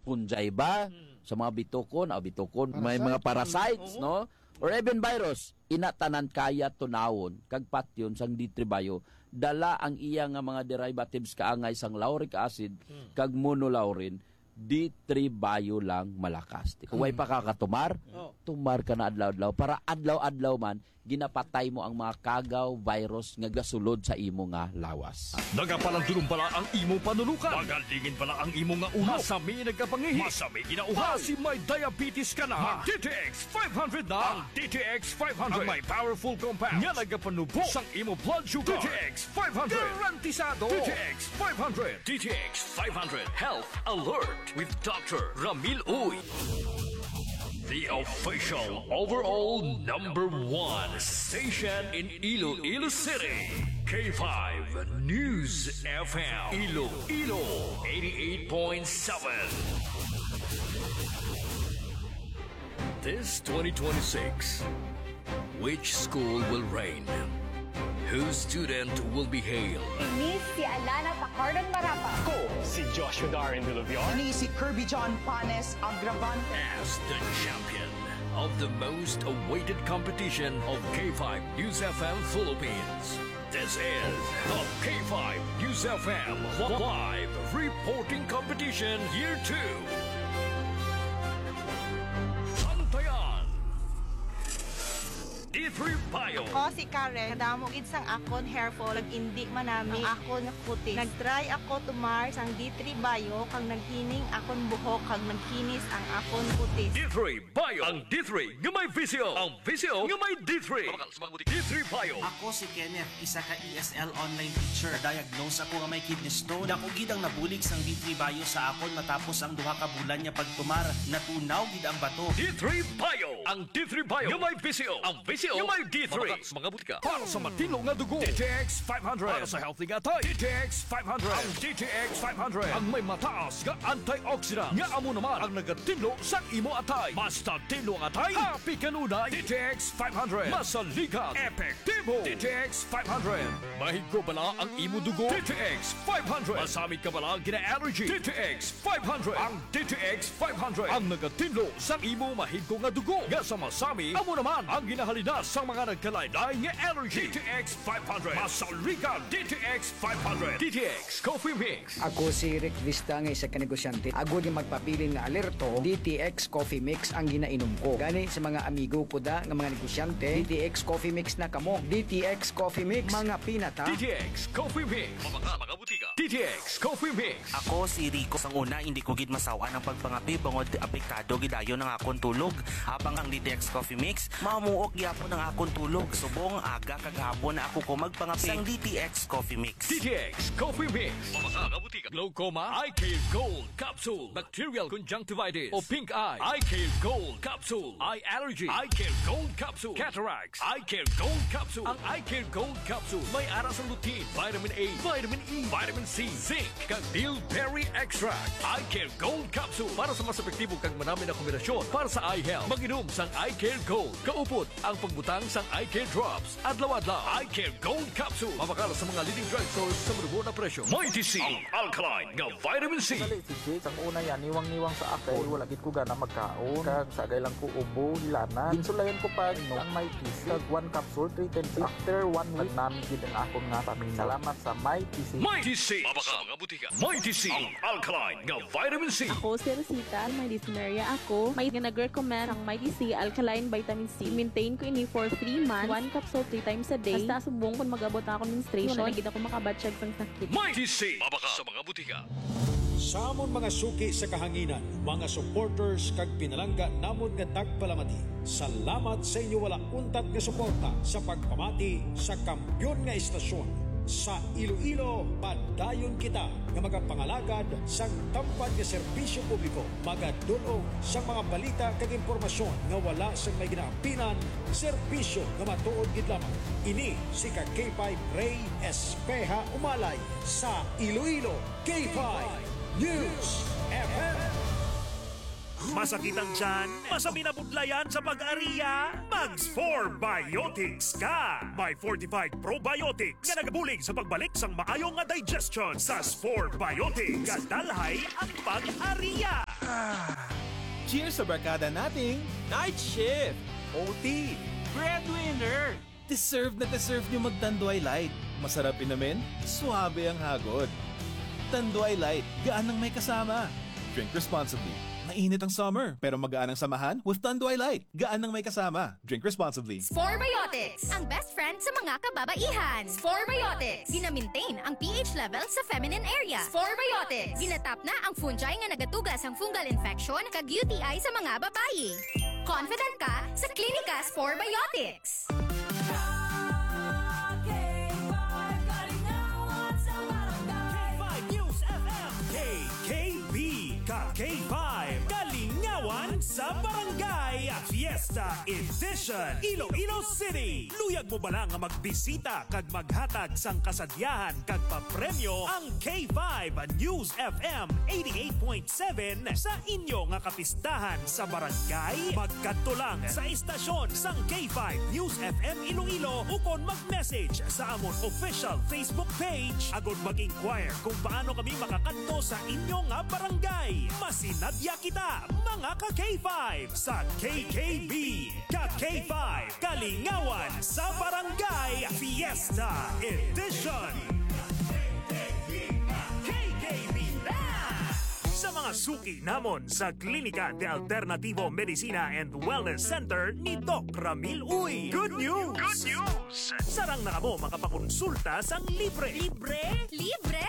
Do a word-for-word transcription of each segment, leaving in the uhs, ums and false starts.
fungi ba? Hmm. Sa mga bitukon, ah, bitukon, may mga Parasite. Parasites, Oo. no? Or even virus, ina tanan kaya tunawon kag patyon sang D three Bio, dala ang iya nga mga derivatives kaangay sang lauric acid Hmm. kag monolaurin, D three Bio lang malakas. Kung way Hmm. pa ka katumar, Oh. tumar ka na adlaw-adlaw para adlaw-adlaw man ginapatay mo ang mga kagaw, virus nga gasulod sa imo nga lawas. Nagapalandulong bala ang imo panulukan? Magalingin bala ang imo nga ulo? Masami nagkapangihi? Masami ginauhaw? Basi may diabetes ka na? Mag D T X five hundred na. Ang D T X five hundred ang may powerful compound nga nagapanubo sang imo blood sugar. D T X five hundred. Garantisado. D T X five hundred. D T X five hundred Health Alert with Doctor Ramil Uy. The official overall number one station in Iloilo City. K five News F M. Iloilo eighty-eight point seven. This twenty twenty-six, which school will reign? Whose student will be hailed? Ini si Alana Pacardon Marapa. Ko si Joshua Darren Villaviar. Ini si Kirby John Panes Agravan. As the champion of the most awaited competition of K five News F M Philippines. This is the K five News F M Live Reporting Competition Year two. Bantayan. D three Bio. Ako si Karen. Kadamo gid sang akon hair fall, nag-indi man nami ang akon kutis. Nag-try ako tumar sang D three Bio, kag naghining akon buhok, kag nagkinis ang akon kutis. D three Bio. Ang D three nga may visyo. Ang visyo nga may D three. D three Bio. Ako si Kenneth, isa ka E S L online teacher. Diagnose ako nga may kidney stone. Dako gid ang nabulig sang D three Bio sa akon matapos ang duha ka bulan nga pagtumar. Natunaw gid ang bato. D three Bio. Ang D three Bio nga may visyo. Ang visyo nga may D three. Mabakal sa mga butika. Para sa matinlo nga dugo, D T X five hundred. Para sa healthy nga atay, D T X five hundred. Ang D T X five hundred ang may mataas nga antioxidant nga amo naman ang nagatinlo sang imo atay. Basta tinlo ang atay, happy kanunay. D T X five hundred. Masaligan, epektibo. D T X five hundred. Mahigko bala ang imo dugo? D T X five hundred. Masamit ka bala gina-allergy? D T X five hundred. Ang D T X five hundred ang nagatinlo sang imo mahigko nga dugo nga sa masami, amo naman ang ginahalinas sang mga nagkalain-lain nga allergy. D T X five hundred. Masaligan, D T X five hundred. D T X Coffee Mix. Ako si Rick Vista nga isa ka negosyante. Agod nga magpabilin nga alerto, D T X Coffee Mix ang ginainom ko. Gani sa mga amigo ko da nga mga negosyante, D T X Coffee Mix na kamo. D T X Coffee Mix, mga pinata. D T X Coffee Mix. Mabakal sa mga butika. D T X Coffee Mix. Ako si Rico. Sang una, hindi ko gid masaw-an ang pagpangape bangod apektado gid dayon ang akon tulog. Habang ang D T X Coffee Mix, mamuok gyapon ang akon tulog. Subong aga kag hapon na ako ko magpangape sang D T X Coffee Mix. D T X Coffee Mix. Mabakal sa mga butika. Glaucoma, eye care gold capsule, bacterial conjunctivitis, o pink eye, eye care gold capsule, eye allergy, eye care gold capsule, cataracts, eye care gold capsule. Ang eye care gold capsule may ara sang lutein, vitamin A, vitamin E, vitamin C, zinc, kag bilberry extract. Eye care gold capsule para sa mas epektibo kag manami na kombinasyon para sa eye health. Mag-inom sang eye care gold kaupod ang pagbutang sang eye care drops adlaw-adlaw. Eye care gold capsule. Mabakal sa mga leading drugstores sa manubo na presyo. Mighty C, ang alkaline nga vitamin C. Dali, si Jake, sang una yan, niwang-niwang sa ako. Wala gid ko gana magkaon. Kag sagay lang ko ubo, hilanat. Ginsulayan ko pa, inom ang Mighty C. Kag one capsule, three times. After one week, nagnami gid ang akon nga pamina. Salamat sa Mighty C. Mighty C. Mabakal sa mga butika. Mighty C, ang alkaline nga vitamin C. Ako si Rosita, may dysmenorrhea ako. May nga nag-recommend ang Mighty C alkaline vitamin C. Maintain ko ini for three months, one capsule three times a day. Hasta subong kon mag-abot na akong menstruation, wala na gid ako makabatyag sang sakit. Mighty C, mabakal sa mga butika. Sa amon mga suki sa kahanginan, mga supporters kag pinalangga namon nga tagpalamati, salamat sa inyo wala untat nga suporta sa pagpamati sa kampiyon nga estasyon. Sa Iloilo, padayon kita nga magapangalagad sang tampad nga serbisyo publiko, magadul-ong sang mga balita kag impormasyon nga wala sang may ginaampinan, serbisyo nga matuod gid lamang. Ini si ka K five Rey Espeha Umalay sa Iloilo, K five News F M. Masakit ang tiyan? Masami na budlayan sa pag-ariya? Mag Spore Biotics ka! May fortified probiotics nga nagabulig sa pagbalik sang maayo nga digestion. Sa Spore Biotics, kadalhay ang pag-ariya. Cheers sa barkada nating Night shift! O T! Breadwinner! Deserve na deserve nyo mag-Tanduay Light. Masarap inumin, suabe ang hagod. Tanduay Light, gaan ng may kasama. Drink responsibly. Mainit ang summer, pero magaan ang samahan with Tanduay Light. Gaan ng may kasama. Drink responsibly. Spore Biotics, ang best friend sa mga kababaihan. Spore Biotics, gina-maintain ang P H level sa feminine area. Spore Biotics, ginatap na ang fungi nga nagatuga sang fungal infection kag U T I sa mga babayi. Confident ka sa Klinika Spore Biotics. K five Kalingawan sa Barangay. K five News F M. K K B, ka K five, Kalingawan sa Barangay, Fiesta Edition, Iloilo City. Luyag mo bala nga magbisita kag maghatag sang kasadyahan kag papremyo ang K five News F M eighty-eight point seven sa inyo nga kapistahan sa barangay? Magkadto lang sa estasyon sang K five News F M Iloilo ukon mag-message sa amon official Facebook page agod mag-inquire kung paano kami makakadto sa inyo nga barangay. Masinadya kita, mga ka K five, sa K K B, ka K five, Kalingawan sa Barangay Fiesta Edition. K K B na! Sa mga suki namon sa Klinika de Alternativo Medicina and Wellness Center ni Doc Ramil Uy. Good news! Good news! Sarang na kamo makapakonsulta sang libre. Libre? Libre!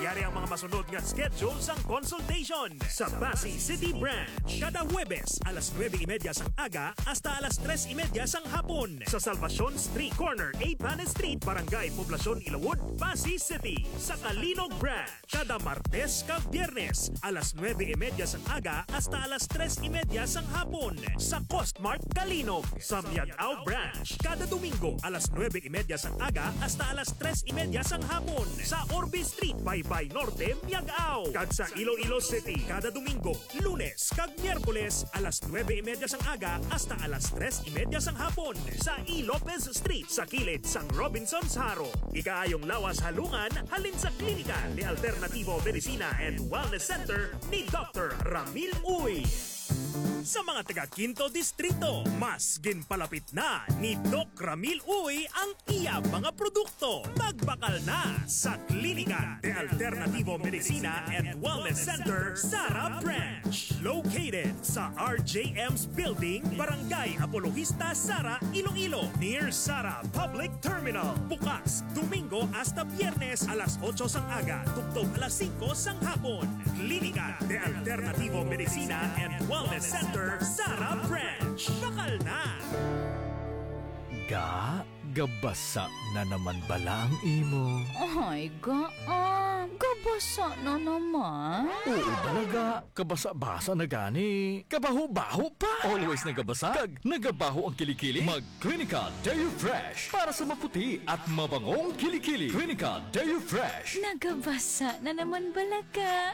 Yari ang mga masunod nga schedule sang consultation. Sa Passi City Branch, kada Huwebes, alas nuebe y media sang aga hasta alas tres y media sang hapon. Sa Salvacion Street, corner eighth Planet Street, Barangay Poblacion, Ilawod, Passi City. Sa Calinog Branch, kada Martes kag Biyernes, alas nuebe y media sang aga hasta alas tres y media sang hapon. Sa Costmart Calinog, sa Miag-ao Branch, kada Domingo, alas nuebe y media sang aga hasta alas tres y media sang hapon. Sa Orbe Street, Baybay Norte, Miag-ao. Kag sa Iloilo City, kada Domingo, Lunes kag Miyerkules, alas nuebe y media sang aga hasta alas tres y media sang hapon, sa E. Lopez Street, sa kilid sang Robinsons Jaro. Ikaayong lawas halungan halin sa Klinika de Alternativo Medicina and Wellness Center ni Doctor Ramil Uy. Sa mga taga Quinto Distrito, mas ginpalapit na ni Doc Ramil Uy ang iya mga produkto. Magbakal na sa Klinika de Alternativo Medicina and Wellness Center, Sara Branch. Located sa R J M's Building, Barangay Apologista, Sara, Iloilo, near Sara Public Terminal. Bukas Domingo hasta Biyernes, alas otso sang aga tubtob alas singko sang hapon. Klinika de Alternativo Medicina and Wellness Center, Sara Branch. Bakal na! Ga, gabasa na naman bala ang imo? Ay, ga, ah, gabasa na naman. Oo bala, ga, kabasa-basa na gani. Kabaho-baho pa. Always nagabasa kag nagabaho ang kilikili. Mag Clinica Deo Fresh para sa maputi at mabangong kilikili. Clinica Deo Fresh. Nagabasa na naman bala ka.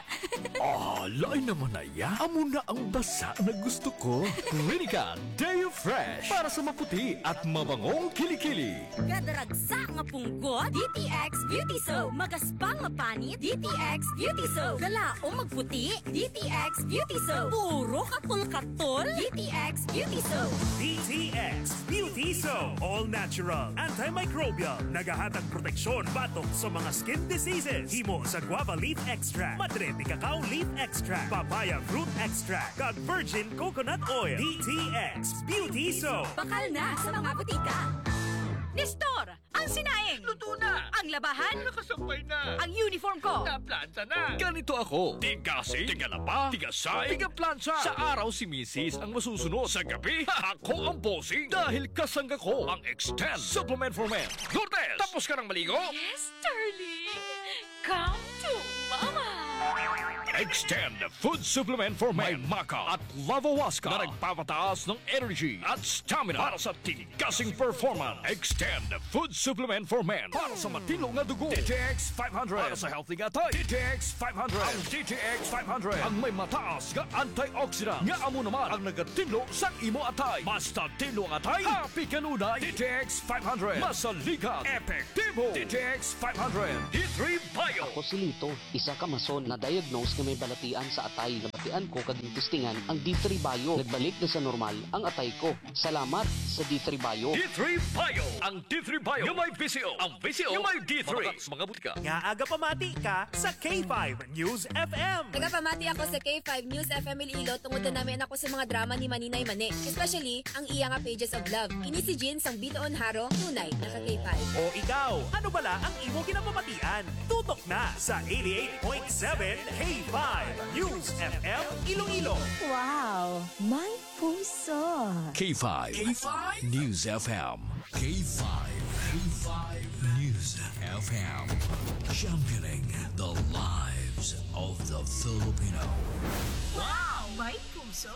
Ah, lain naman na ya. Amo na ang basa na gusto ko. Clinica Deo Fresh para sa maputi at mabangong kilikili. Gadaragsa nga punggot, D T X Beauty Soap. Magaspang nga panit, D T X Beauty Soap. Galaom magputi, D T X Beauty Soap. Puro katol-katol, D T X Beauty Soap. D T X Beauty Soap. All natural, antimicrobial. Nagahatag proteksyon batok sa mga skin diseases. Himo sa guava leaf extract, madre de cacao leaf extract, papaya fruit extract, kag virgin coconut oil. D T X Beauty Soap. Bakal na sa mga butika. Nestor, ang sinaing. Luto na. Ang labahan. Nakasampay na. Ang uniform ko. Naplanta na. Ganito ako. Tigasing, tigalaba, tigasay, tigaplansa. Sa araw si misis ang masusunod. Sa gabi, ako ang bossing. Dahil kasangga ko ang Extend Supplement for Men. Lourdes, tapos ka nang maligo? Yes, darling. Come to Mama. Extend Food Supplement for Men. May maca at lavawaska na nagpapataas ng energy at stamina para sa tigasing performance. Extend Food Supplement for Men. Para sa matino nga dugo, D T X five hundred. Para sa healthy nga atay, D T X five hundred. Ang D T X five hundred ang may mataas nga antioxidant nga amo naman ang nagatinlo sa imo atay. Basta tinlo ang atay, happy kanunay. D T X five hundred. Masaligan, epektibo. D T X five hundred. D three Bio. Ako si Lito, isa ka mason na diagnose may balatian sa atay. Nabatian ko kag gintistingan ang D three Bio. Nagbalik na sa normal ang atay ko. Salamat sa D three Bio. D three Bio. Ang D three Bio nga may V C O. Ang V C O nga may D three. Mga butika. Nga aga pamati ka sa K five News F M. Nagapamati ako sa K five News F M Iloilo tungod na namian ako sa mga drama ni Maninay Mani, especially ang iya nga Pages of Love. Kini si Jean sang Bitoon Haro, tunay na ka K five. O ikaw, ano bala ang imo ginapamatian? Tutok na sa eighty-eight point seven K five News F M Iloilo. Wow, my puso. K five K five News F M. K five, K five News F M. Championing the lives of the Filipino. Wow, my puso.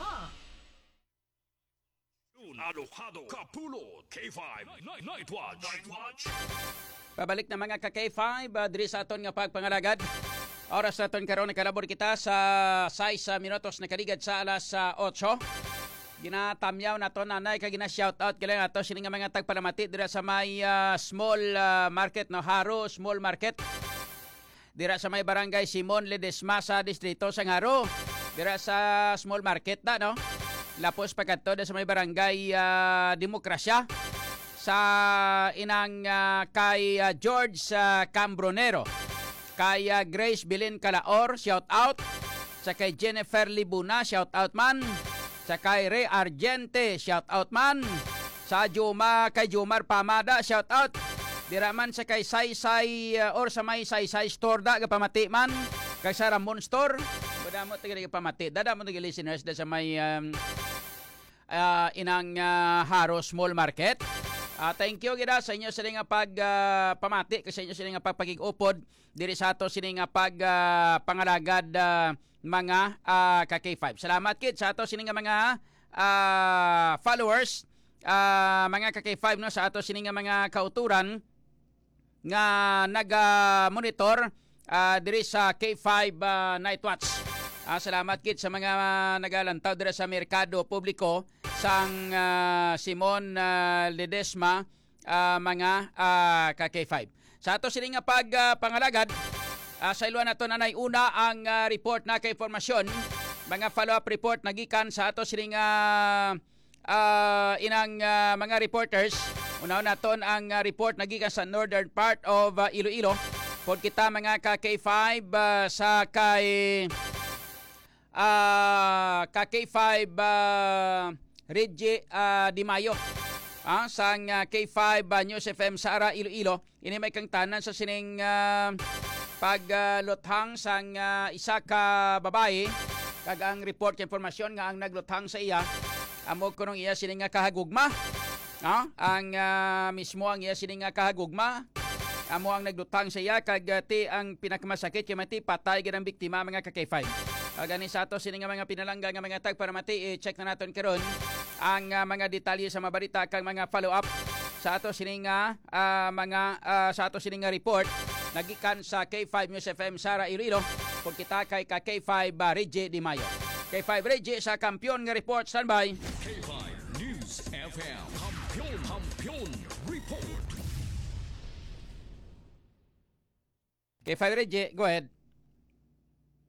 Alojado, Kapulot, K five, Night, Night Watch. Night Watch. Pabalik na, mga ka K five, ah, diri sa aton nga pagpangalagad. Oras naton karon, nakalabor kita sa sais, ah, minutos nakaligad sa alas, ah, otso. Ginatamyaw nato, nanay, kag gina-shoutout kita nato sini nga mga tagpalamati dira sa may, ah, small, ah, market, no? Haro Small Market. Dira sa may barangay Simon Ledesma sa distrito sang Haro. Dira sa small market na, no? Lapos pa kadto dira sa may barangay, ah, Demokrasya. Sa inang, ah, kay, ah, George, ah, Cambronero. Kay, ah, Grace Belen Calaor, shout out. Sa kay Jennifer Libuna, shout out man. Sa kay Ray Argente, shout out man. Sa Juma, kay Jomar Pamada, shout out. Dira man sa kay Saysay, uh, or sa may Saysay Store da, gapamati man. Kay sa Ramon Store, madamo taga gapamati. Dada mo taga listeners da sa may, um, uh, inang, uh, Haro Small Market. Ah, thank you gid sa inyo sila nga pag, ah, pamati, kag sa inyo sila nga pagpakig-upod diri sa ato sini nga pag, ah, pangalagad, ah, mga, ah, ka K five. Salamat gid sa ato sini nga mga, ah, followers, ah, mga ka K five, no, sa ato sini nga mga kauturan nga naga-monitor, ah, diri sa K five, ah, Night Watch. Ah, salamat gid sa mga nagalantaw diri sa merkado publiko sang, ah, Simon, ah, Ledesma, ah, mga, ah, ka K five. Sa ato sini nga pag, ah, pangalagad, ah, sa ilwa nato, nanay, una ang, ah, report na kay impormasyon, mga follow-up report nagikan sa ato sini nga, ah, inang, ah, mga reporters. Unahon naton ang, ah, report nagikan sa northern part of, ah, Iloilo. Pod kita, mga ka K five, ah, sa kay ah, ka K five, ah, Reggie, ah, Di Mayo, ah, sang, ah, K five, ah, News F M Sara, Iloilo. Ini may kangtanan sa sining, ah, pag, ah, luthang sang, ah, isa ka babayi, kag ang report kay impormasyon nga ang nagluthang sa iya amo kunong iya sini nga kahagugma. Ah, ang, ah, mismo ang iya sini nga kahagugma amo ang nagluthang sa iya, kag, ah, ti ang pinakamasakit kay mati patay gid ang biktima, mga ka K five. Ah, gani sa ato sini nga mga pinalangga nga mga tagpalamati, i-check na naton karon ang, ah, mga detalye sa mga balita kag mga follow-up sa ato sini nga, ah, mga, ah, sa ato sini nga report nagikan sa K five News F M Sara, Iloilo. Pod kita kay ka K five, ah, Reggie Di Mayo. K five Reggie sa kampiyon nga report, standby. K five News F M. Kampiyon, Kampiyon Report. K five Reggie, go ahead.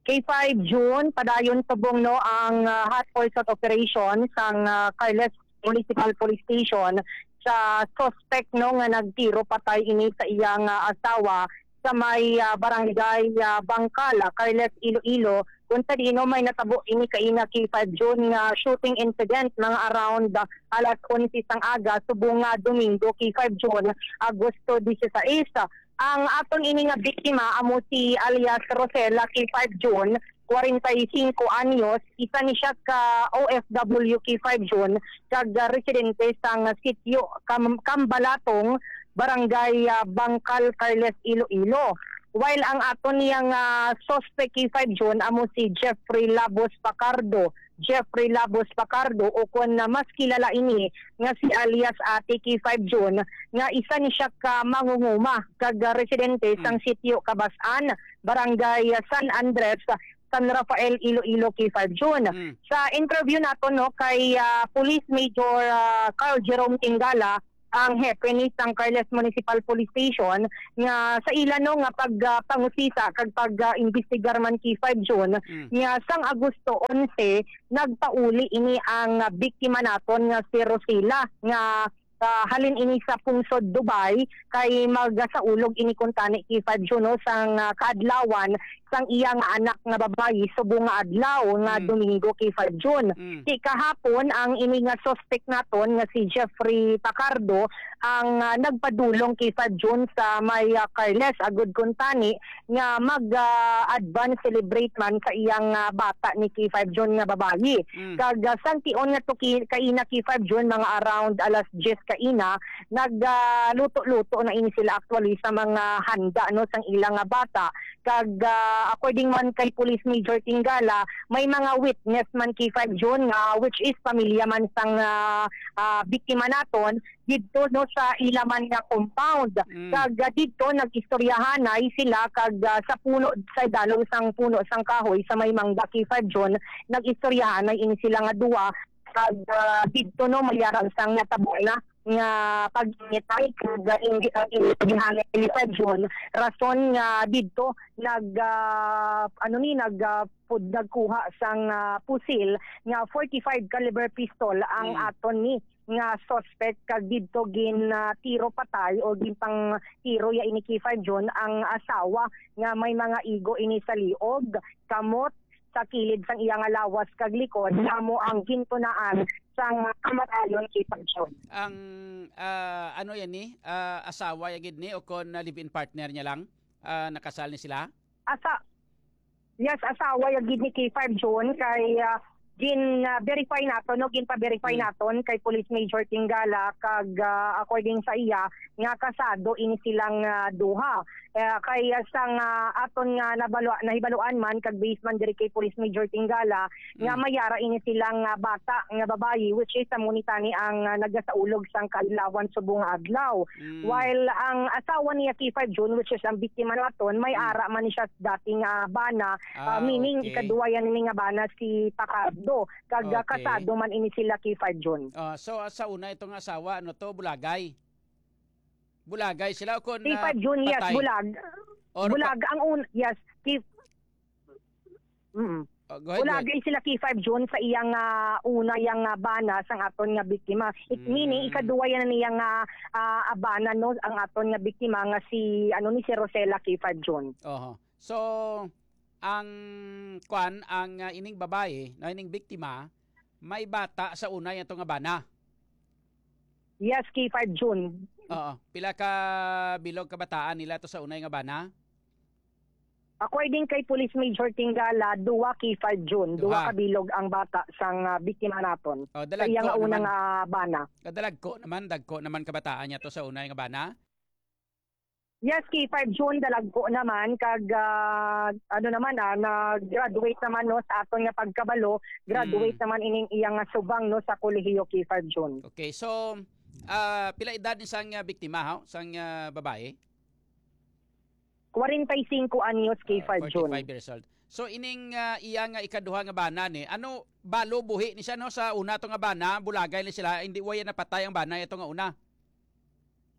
K five June, padayon subong, no, ang, ah, hot pursuit operation sang, ah, Carles Municipal Police Station sa suspect, no, nga nagtiro patay ini sa iyang, ah, asawa sa may, ah, barangay, ah, Bangkal, ah, Carles, Iloilo, kung sa diin, no, may natabo ini kaina, K five June, nga shooting incident mga around, ah, alas onse sang aga subong nga Domingo, K five June, Agosto dieciséis. Ang aton ini nga biktima amo si alias Rosela, K five June, kwarenta y singko anyos, isa ni siya ka O F W, K five June, kag, ah, residente sang sitio Cam-, Cambalatong, Barangay, ah, Bangkal, Carles, Iloilo. While ang aton niyang, ah, suspect, K five June, amo si Jeffrey Labos Pacardo, Jeffrey Labos Pacardo, o kon na mas kilala ini nga si alias Ate, K five June, nga isa ni siya ka mangunguma kag, ah, residente sang sitio Cabas-an, Barangay, ah, San Andres, San Rafael, Iloilo, K five June. Mm. Sa interview nato, no, kay, ah, Police Major, ah, Carl Jerome Tingala, ang hepe ni sang Carles Municipal Police Station nga sa ila, no, nga pag, ah, pangusisa kag pag, ah, imbestigar man, K five June, Mm. nga sang Agosto onse, nagpauli ini ang, ah, biktima naton nga si Rosila nga, ah, halin ini sa pungsod Dubai, kay magasaulog ini kuntani, K five June, no, sang, ah, kaadlawan sang iya nga anak nga babayi subong nga adlaw nga Mm. Domingo, K five June. Mm. Ti kahapon, ang ini nga suspect naton nga si Jeffrey Pacardo ang, ah, nagpadulong, K five June, sa may, ah, Carles, agud kuntani nga mag, ah, advance celebrate man sa iyang, ah, bata ni, K five June, nga babayi. Mm. Kag, ah, sang tion nga tuki-, kaina, K five June, mga around alas diyes kaina, nag, ah, luto-luto na ini sila actually sa mga handa, no, sang ila nga bata. Kag, ah, according man kay Police Major Tingala, may mga witness man, K five June, nga which is pamilya man sang, ah, ah, biktima naton didto, no, sa ila man nga compound. Mm. Kag, ah, didto nag-istoryahanay sila kag, ah, sa puno, sa idalom sang puno sang kahoy sa may mangga, K five June, nag-istoryahanay ini sila nga duwa. Kag, ah, didto, no, may ara sang natabo na nga pag-ingitay kag, ah, inggit ang init ni Hana Elisa Jun. Rason nga didto nag, ah, ano ni, nag, ah, pud-, nagkuha sang, ah, pusil nga forty-five caliber pistol ang Mm. aton ni nga suspect, kag didto gin, ah, tiro patay o ginpang tiro ya ini, K five Jun, ang asawa nga may mga igo ini sa liog, kamot, sa kilid sang iya nga lawas kag likod, amo ang gintunaan sang kamatayon, K five Jun. Ang, ah, ano yan ni? Ah, asawa ya gid ni o kon, ah, live-in partner niya lang? Ah, nakasal ni sila? Asa-, yes, asawa ya gid ni, K five Jun, kay, ah, gin, ah, verify naton, no? Ginpa-verify Hmm. naton kay Police Major Tingala kag, ah, according sa iya, nga kasado ini silang, ah, duha. Eh, kay, ah, sang, ah, aton nga nabalo-, nahibaluan man kag based man diri kay Police Major Tingala nga Mm. may ara ini silang, ah, bata nga babayi, which is amo ni tani ang, ah, nagasaulog sang kaadlawan subong nga adlaw. Mm. While ang asawa niya, K five Jun, which is ang biktima naton, may Mm. ara man ni siya dati nga bana, ah, Ah, meaning okay. ikaduwa yan ni nga bana si Pacardo, kag, ah, Okay. kasado man ini sila, K five Jun. Ah, so, ah, sa una itong asawa, ano to, Bulagay? Bulagay sila o kon, K five ah, Jun, yes, patay? Bulag. Or Bulag, pa- ang un-, yes, K-, mm. Oh, go ahead, go ahead. Bulagay sila, K five Jun, sa iyang, ah, una yang, ah, bana sang aton nga biktima. It Mm. meaning, ikaduwa yan niyang, ah, ah, abana, no, ang aton nga biktima nga si, ano, ni si Rosela, K five Jun. Oho. So, ang, kwan, ang, ah, ining babae, no, ining biktima, may bata sa una, yan to nga bana. Yes, K five Jun. Oo. Pila ka bilog kabataan nila to sa unay nga bana? According kay Police Major Tingala, duwa, K five Jun. Duha. Duha ka bilog ang bata sang, ah, biktima naton. Oh, sa iya nga una nga bana. Dalagko naman, dagko naman kabataan niya to sa unay nga bana? Yes, K five Jun, dalagko naman, kag, ah, ano naman, ah, nag-graduate naman, no, sa aton nga pagkabalo, graduate Mm. naman ining iya nga subang, no, sa kolehiyo, K five Jun. Okay, so, ah, pila edad ni sang, ah, biktima, ha? Sang, ah, babae? Kwarenta y singko anyos, K five Jun. Ah, forty-five years old. So, ining, ah, iya nga ikaduha nga bana ni, ano, balo buhi ni siya, no, sa una to nga bana, bulagay ni sila, hindi, wala napatay ang bana, ito nga una.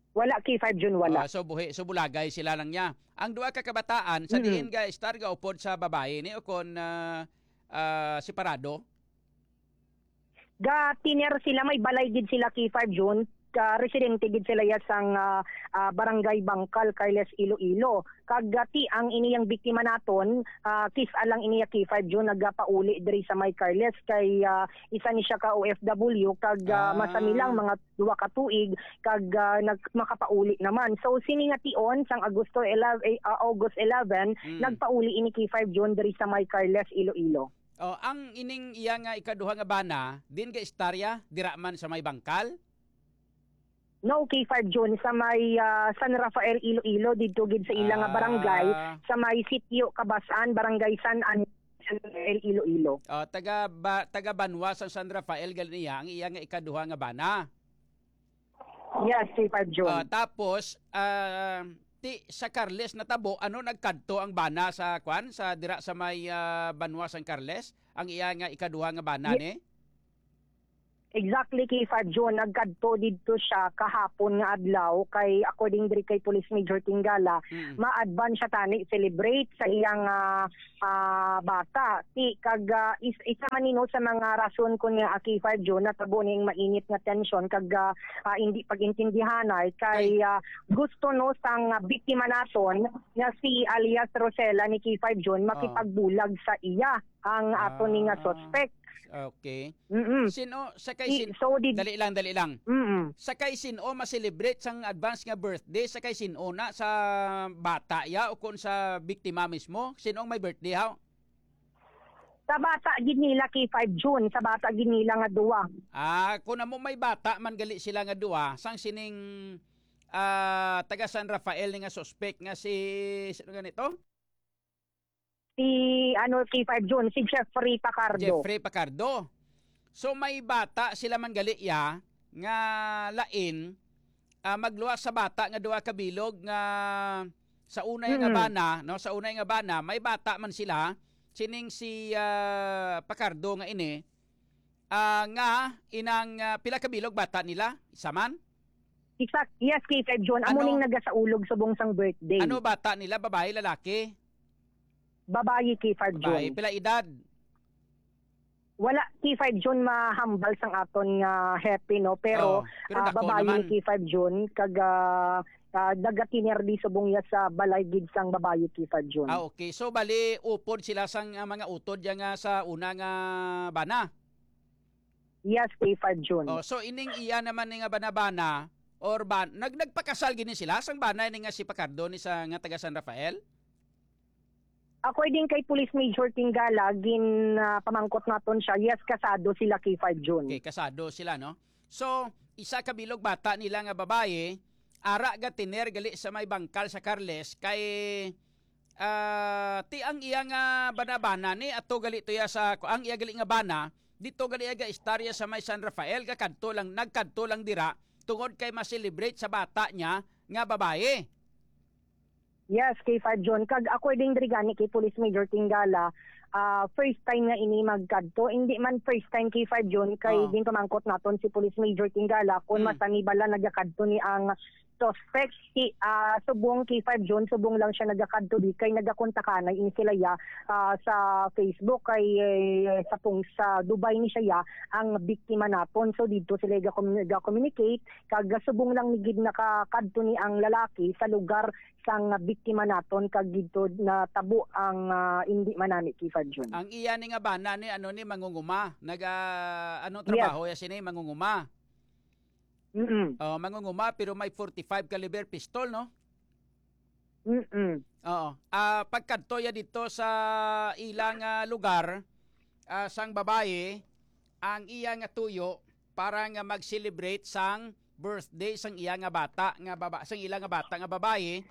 Wala, K five Jun, wala. Ah, so buhi, so bulagay sila lang niya. Ang duha ka kabataan, sa Mm. diin ga-estar, gaupod sa babae ni o kon, ah, ah, separado? Ga-tener sila, may balay gid sila, K five Jun. Ka, residente gid sila ya sang, ah, ah, Barangay Bangkal, Carles, Iloilo. Kag, ah, ti ang iniyang biktima naton, ah, kis-a lang iniya, K five Jun, nagapauli diri sa may Carles kay, ah, isa ni siya ka O F W kag, ah, Ah. masami lang mga duha ka tuig kag, ah, nag-, makapauli naman. So, sini nga tion sang Agosto eleven, eh, ah, August eleven, Mm. nagpauli ini, K five Jun, diri sa may Carles, Iloilo. Oh, ang ining iya nga ikaduha nga bana, din ga-istorya, dira man sa may Bangkal? No, K five Jun, sa may, ah, San Rafael, Iloilo, didto gid sa ila nga barangay, Ah. sa may Sitio Kabasan, Barangay San An-, San Rafael, Iloilo. Oh, taga ba-, taga banwa sa San Rafael gali niya ang iya nga ikaduha nga bana. Yes, K five Jun. Ah, tapos, ah, ti sa Carles natabo, ano, nagkadto ang bana sa, kwan, sa dira sa may, ah, banwa sang Carles, ang iya nga ikaduha nga bana Ye-, ni? Exactly, K five June, nagkadto didto siya kahapon nga adlaw kay, according diri kay Police Major Tingala, Mm. ma-advance siya tani celebrate sa iyang, ah, ah, bata. Ti kag, ah, is-, isa man nino sa mga rason kun nga, ah, K five June natabo ning mainit nga tensyon kag, ah, ah, hindi pag-intindihanay kay, Ay. ah, gusto no sang, ah, biktima naton nga si alias Rosella ni K five June Ah. makipagbulag sa iya ang ato ni nga Ah. suspect. Okay. Mm-mm. Sino sa kay I-, sin-, so, di- dali lang, dali lang. Mm-mm. Sa kay sin-o ma-celebrate sang advance nga birthday? Sa kay sin-o na, sa bata ya o kon sa biktima mismo? Sin-o ang may birthday, haw? Sa bata gid nila, K five June, sa bata gid nila nga duwa. Ah, kung amo may bata man gali sila nga duwa, sang sining, ah, taga San Rafael ni nga suspect nga si, sino ganito? Si, ano, K five June, si Jeffrey Pacardo. Jeffrey Pacardo. So, may bata sila man gali ya nga lain, ah, magluwas sa bata nga duha ka bilog nga sa una nga Mm. bana, no, sa una nga bana, may bata man sila, sining si, ah, Pacardo nga ini, ah, nga inang, ah, pila ka bilog bata nila? Isa man? Isa, yes, K five June. Amo Ano? ning nagasaulog subong sang birthday. Ano bata nila? Babae, lalaki? Babayi, K five Babae. June. Pila edad? Wala, K five June, mahambal sang aton nga hepe, no? Pero, Oh, pero ah, dako babayi, naman. K five June, kag, ah, ah, nagatiner di subong ya sa balay gid sang babayi, K five June. Ah, okay. So, bali, upod sila sang, ah, mga utod ya nga sa una nga bana? Yes, K five June. Oh, so, ining iya naman ni nga bana-bana, or ba, nag-, nagpakasal gini sila? Sang bana ni nga si Pacardo ni sa, nga taga San Rafael? According kay Police Major Tingala, gin, ah, pamangkot naton siya, yes, kasado sila, K five June. Okay, kasado sila, no? So, isa ka bilog bata nila nga babayi, ara gatiner gali sa may bangkal sa Carles, kay, ah, ti ang iya nga bana-bana ni ato gali to ya sa, ang iya gali nga bana, dito gali aga istorya sa may San Rafael, gakadto lang, nagkadto lang dira, tungod kay ma-celebrate sa bata niya nga babayi. Yes, K five June. Kag according diri gani kay Police Major Tingala, ah, first time nga ini magkadto. Hindi man first time, K five June, kay Oh. ginpamangkot naton si Police Major Tingala kung Hmm. masani bala nagakadto ni ang suspect. Si, ah, subong, K five June, subong lang siya nagakadto di kay nagakontakanay ini sila ya, ah, sa Facebook kay, eh, sa pung-, sa Dubai ni siya ya ang biktima naton. So dito sila ga-, ga-communicate kag subong lang ni gid nakakadto ni ang lalaki sa lugar sang biktima naton kag didto natabo ang, ah, indi manani, K five June. Ang iya ni nga bana ni, ano ni, mangunguma. Naga, ano Yes. trabaho ya sini? Mangunguma. Mm-mm. Oh, mangunguma pero may forty-five caliber pistol, no? Mm-mm. Oo. Ah, pagkadto ya dito sa ilang, ah, lugar, ah, sang babayi, ang iya nga tuyo para nga mag-celebrate sang birthday sang iya nga bata nga baba-, sang ila nga bata nga babayi,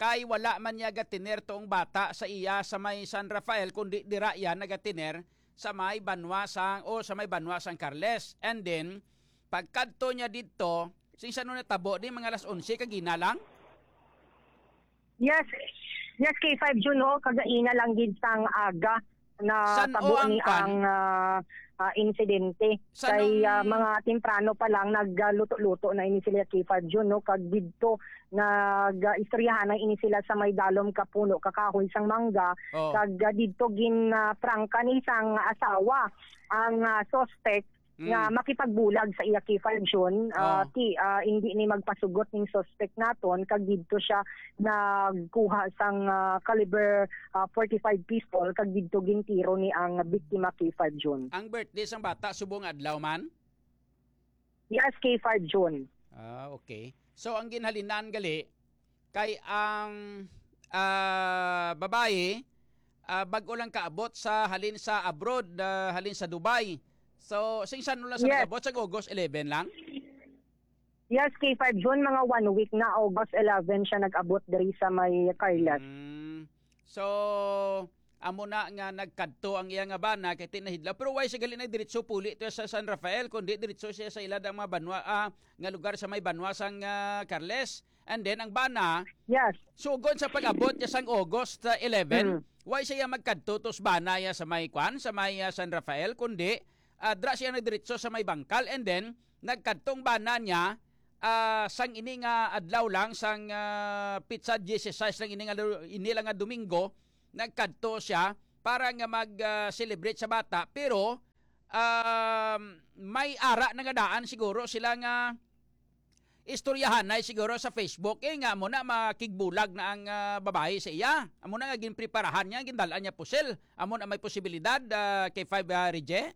kay wala man niya gatiner tuong bata sa iya sa may San Rafael, kundi dira iya nagatiner sa may banwa sang, o sa may banwa sang Carles. And then, pagkadto niya didto, sing san natabo di mga alas onse kagina lang? Yes. Yes, K five June, no? Kagaina lang gid sang aga na San-o tabo ang ni kwan? ang, ah, ah, insidente. San-o Kay, ah, ang mga temprano pa lang nagluto-luto na ini sila, K five June, no? Kag didto nag, ah, istoryahan na ini sila sa may dalom ka puno ka kahoy sang mangga. Oh. Kag, ah, didto gin, ah, prangka ni sang asawa ang, ah, suspect Mm. nga makipagbulag sa iya, K five June, ah, Oh. ti, ah, hindi ni magpasugot ning suspect naton, kag didto siya nagkuha sang, ah, caliber, ah, forty-five pistol, kag didto gintiro ni ang biktima, K five June. Ang birthday sang bata subong adlaw man? Yes, K five June. Ah, okay. So, ang ginhalinan gali, kay ang, ah, babayi, ah, bag-o lang kaabot sa, halin sa abroad, ah, halin sa Dubai. So, sing san-o lang sa Yes. nag-abot? Sa August eleven lang? Yes, K five June, mga one week na, August eleven siya nag-abot diri sa may Carles. Mm. So, amo na nga nagkadto ang iya nga bana kay tinahidlaw. Pero why siya gali na diretso puli to sa San Rafael, kundi diretso siya sa ila dang mga banwa, ah, nga lugar sa may banwa sang, ah, Carles. And then, ang bana, Yes. sugod sa pag-abot niya sang August, ah, eleven, Mm. why siya magkadto to sa bana ya sa may kwan, sa may, ah, San Rafael, kundi, ah, dra siya nagdiretso sa may bangkal, and then nagkadtong bana niya, ah, sang ini nga adlaw lang, sang, ah, pitsa dieciséis lang ini nga lu-, ini lang nga Domingo, nagkadto siya para nga mag, ah, celebrate sa bata, pero, um, may ara na nga daan siguro sila nga istoryahanay siguro sa Facebook, eh, nga amo na makigbulag na ang, ah, babayi sa iya. Amo na nga ginpreparahan niya, gindal-an niya pusil. Amo na may posibilidad, ah, K five, ah, Rije?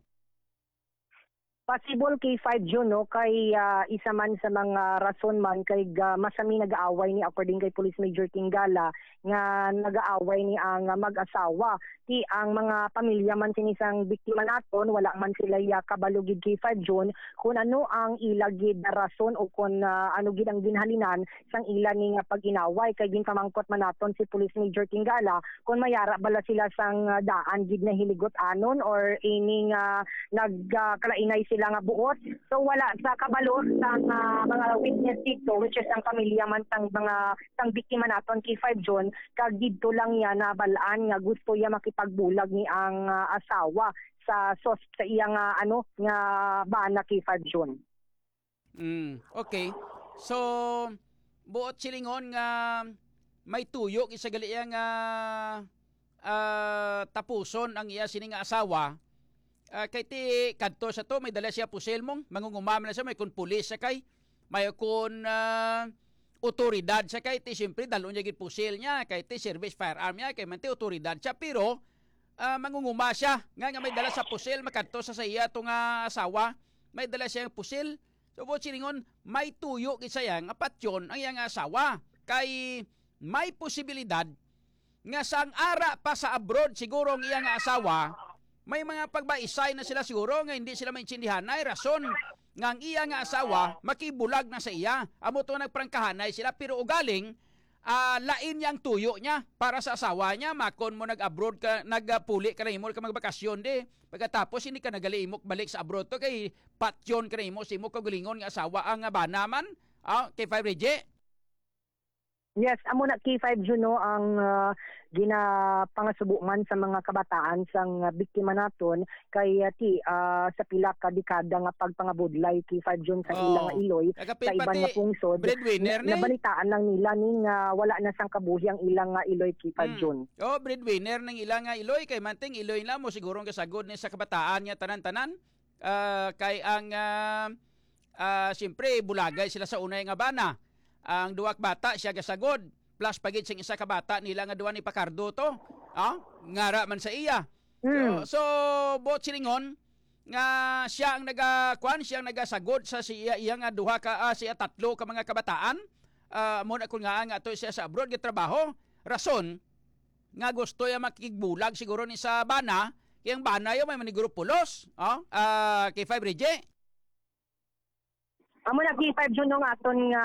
Possible, K five Jun, no, kay, ah, isa man sa mga rason man kay ga-, masami nag-aaway ni, according kay Police Major Tingala, nga nag-aaway ni ang mag-asawa. Ti ang mga pamilya man sini sang biktima naton, wala man sila ya kabalo gid, K five Jun, kung ano ang ila gid rason o kung, ah, ano gid ang ginhalinan sang ila ni nga pag-inaway. Kay ginpamangkot man naton si Police Major Tingala kung may ara bala sila sang, ah, daan gid na hinigot-anon or ini nga nagkalainay sila nga buot. So, wala sa kabalo sang, ah, mga witness dito, which is ang pamilya man sang mga, sang biktima naton, K five Jun, kag didto lang niya nabal-an nga gusto iya makipagbulag ni ang, ah, asawa sa sos-, sa iya nga, ano, nga bana, K five Jun. Mm, okay. So, buot silingon nga may tuyo gid sa gali iya nga, ah, tapuson ang iya sini nga asawa. Ah, kay ti kadto sa to, may dala siya pusil mong, mangunguma man siya, may kun pulis siya kay, may kun, ah, otoridad siya kay, ti siyempre, dalo niya gid pusil niya, kay ti service firearm niya, kay man ti otoridad siya, pero, ah, mangunguma siya, nga, nga may dala sa pusil, makadto sa, sa iya to nga asawa, may dala siyang pusil, So, buot silingon, may tuyo gid sa iya nga patyon ang iya nga asawa. Kay may posibilidad nga sang ara pa sa abroad siguro ang iya nga asawa, may mga pagbaisay na sila siguro nga hindi sila maintindihanay rason nga ang iya nga asawa makibulag na sa iya. Amo to nagprangkahanay sila, pero ugaling, ah, lain niya ang tuyo niya para sa asawa niya. Makon mo nag-abroad ka, nagpuli ka na imo ka magbakasyon di. Pagkatapos, hindi ka nagali imo balik sa abroad to kay patyon ka na imo sa imo kaugalingon nga asawa ang, ah, bana man. Ah, K five Regi? Yes, amo na, K five Juno, ang, ah, ginapangasubo man sa mga kabataan sang, ah, biktima naton kay, ah, ti, ah, sa pila ka dekada nga pagpangabudlay, K five Jun, sa ilang, oh, iloy, nagapil sa iban pati nga pungsod, breadwinner na, ni, nabalitaan lang nila ni nga wala na sang kabuhi ang ilang nga iloy, K five, hmm, Jun. Oh, breadwinner ng ilang nga iloy, kay manting iloy na mo siguro ang kasagod ni sa kabataan nga tanan-tanan. Ah, kay ang, ah, ah, siyempre, bulagay sila sa unay nga bana. Ang duwa ka bata, siya gasagod. Plus, pagid sing isa ka bata nila nga duwa ni Pacardo to. Ah, ngara man sa iya. So, mm, so, buot silingon, nga siya ang naga-, kuan, siya ang nagasagod sa siya, iya nga duha ka, ah, siya tatlo ka mga kabataan. Ah, amo na kun nga, nga to siya sa abroad, gatrabaho. Rason, nga gusto ya makigbulag siguro ni sa bana, kay ang bana ya may maniguro pulos, oh, ah, K five Regi. Amo na, K five Jun, no, nga aton nga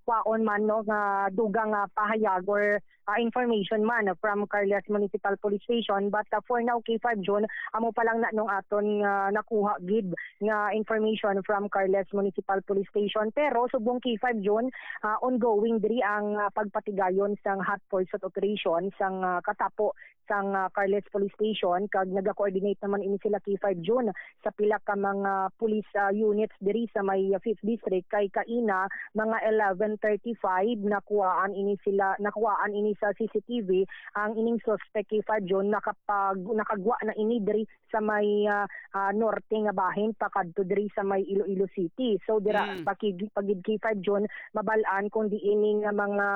kwaon man, no, nga dugang nga pahayag or, ah, information man from Carles Municipal Police Station. But, ah, for now, K five Jun, amo pa lang na nung aton nga nakuha gid nga information from Carles Municipal Police Station. Pero subong, K five Jun, ah, ongoing diri ang, ah, pagpatigayon sang hot pursuit operation sang, ah, katapo sang, ah, Carles Police Station, kag naga-coordinate naman ini sila, K five Jun, sa pila ka mga police, ah, units diri sa may, ah, Fifth District. Kay kaina, mga eleven thirty-five, nakuhaan ini sila, nakuhaan ini sa C C T V ang ining suspect, K five Jun, nakapag-, nakagwa na ini diri sa may, ah, ah, norte nga bahin pakadto diri sa may Iloilo City. So, dira, mm, pakig-, pagid, K five Jun, mabal-an kung diin ni nga mga,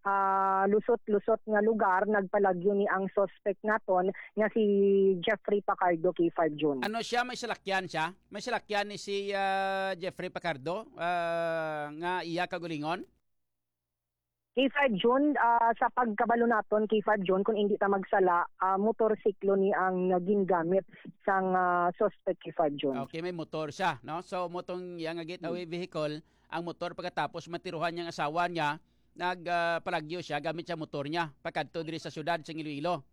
ah, lusot-lusot nga lugar nagpalagyo ni ang suspect naton nga si Jeffrey Pacardo, K five Jun. Ano siya? May salakyan siya? May salakyan ni si, ah, Jeffrey Pacardo, ah, nga iya kaugalingon? K five Jun, ah, sa pagkabalo naton, K five Jun, kung hindi ta magsala, ah, motorsiklo ni ang gingamit sang, ah, suspect, K five Jun. Okay, may motor siya, no? So, motong iya nga getaway, mm, vehicle, ang motor pagkatapos matiruhan niyang asawa niya, nag, ah, palagyo siya gamit sa motor niya, pakadto diri sa syudad sa Iloilo.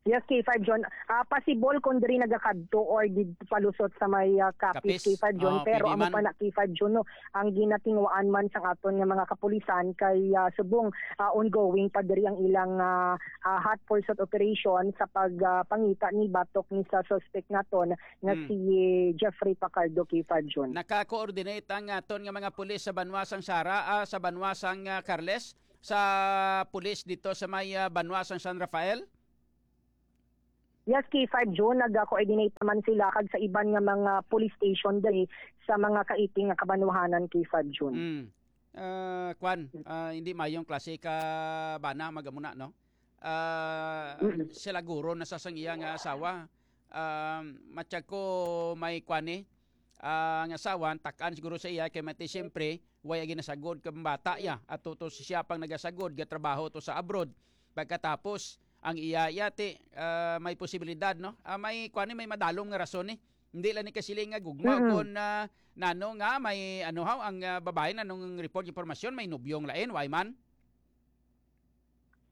Yes, K five John. Ah, possible kung diri nagakadto or did palusot sa may, ah, Capiz, Capiz. K five John. Oh, Pero pwede amo man. Pa na, K five John, no, ang ginatinguhaan man sang aton nga mga kapulisan kay, ah, subong, ah, ongoing pa diri ang ilang, ah, ah, hot pursuit operation sa pag, ah, pangita ni batok ni sa suspect naton nga Hmm. si Jeffrey Pacardo, K five John. Naka-coordinate ang aton nga mga pulis sa banwa sang Sara, ah, sa banwa sang, ah, Carles, sa pulis dito sa may, ah, banwa sang San Rafael? Yes, K five June, nag-coordinate naman sila kag sa iban nga mga police station diri sa mga kaiting nga kabanwahanan, K five June. Mm. Ah, kwan, ah, hindi mayong klase ka bana, magamuna, no? Ah, Mm. Sila guro na sa sang iya nga asawa. Ah, matyag ko may kwan ni, ah, ang asawa, tak-an siguro sa iya, kay mati, siyempre, way agi nasagod kang bata ya. At to, to siya pang nagasagod, gatrabaho to sa abroad. Pagkatapos, ang iya, iya ti, ah, may posibilidad, no? Ah, may, kwan ni, may madalom nga rason ni. Hindi lang ni kasiling nga gugma Mm. kon, ah, nano nga may, ano haw, ang, ah, babae, nanong report, impormasyon, may nobyong lain, way man?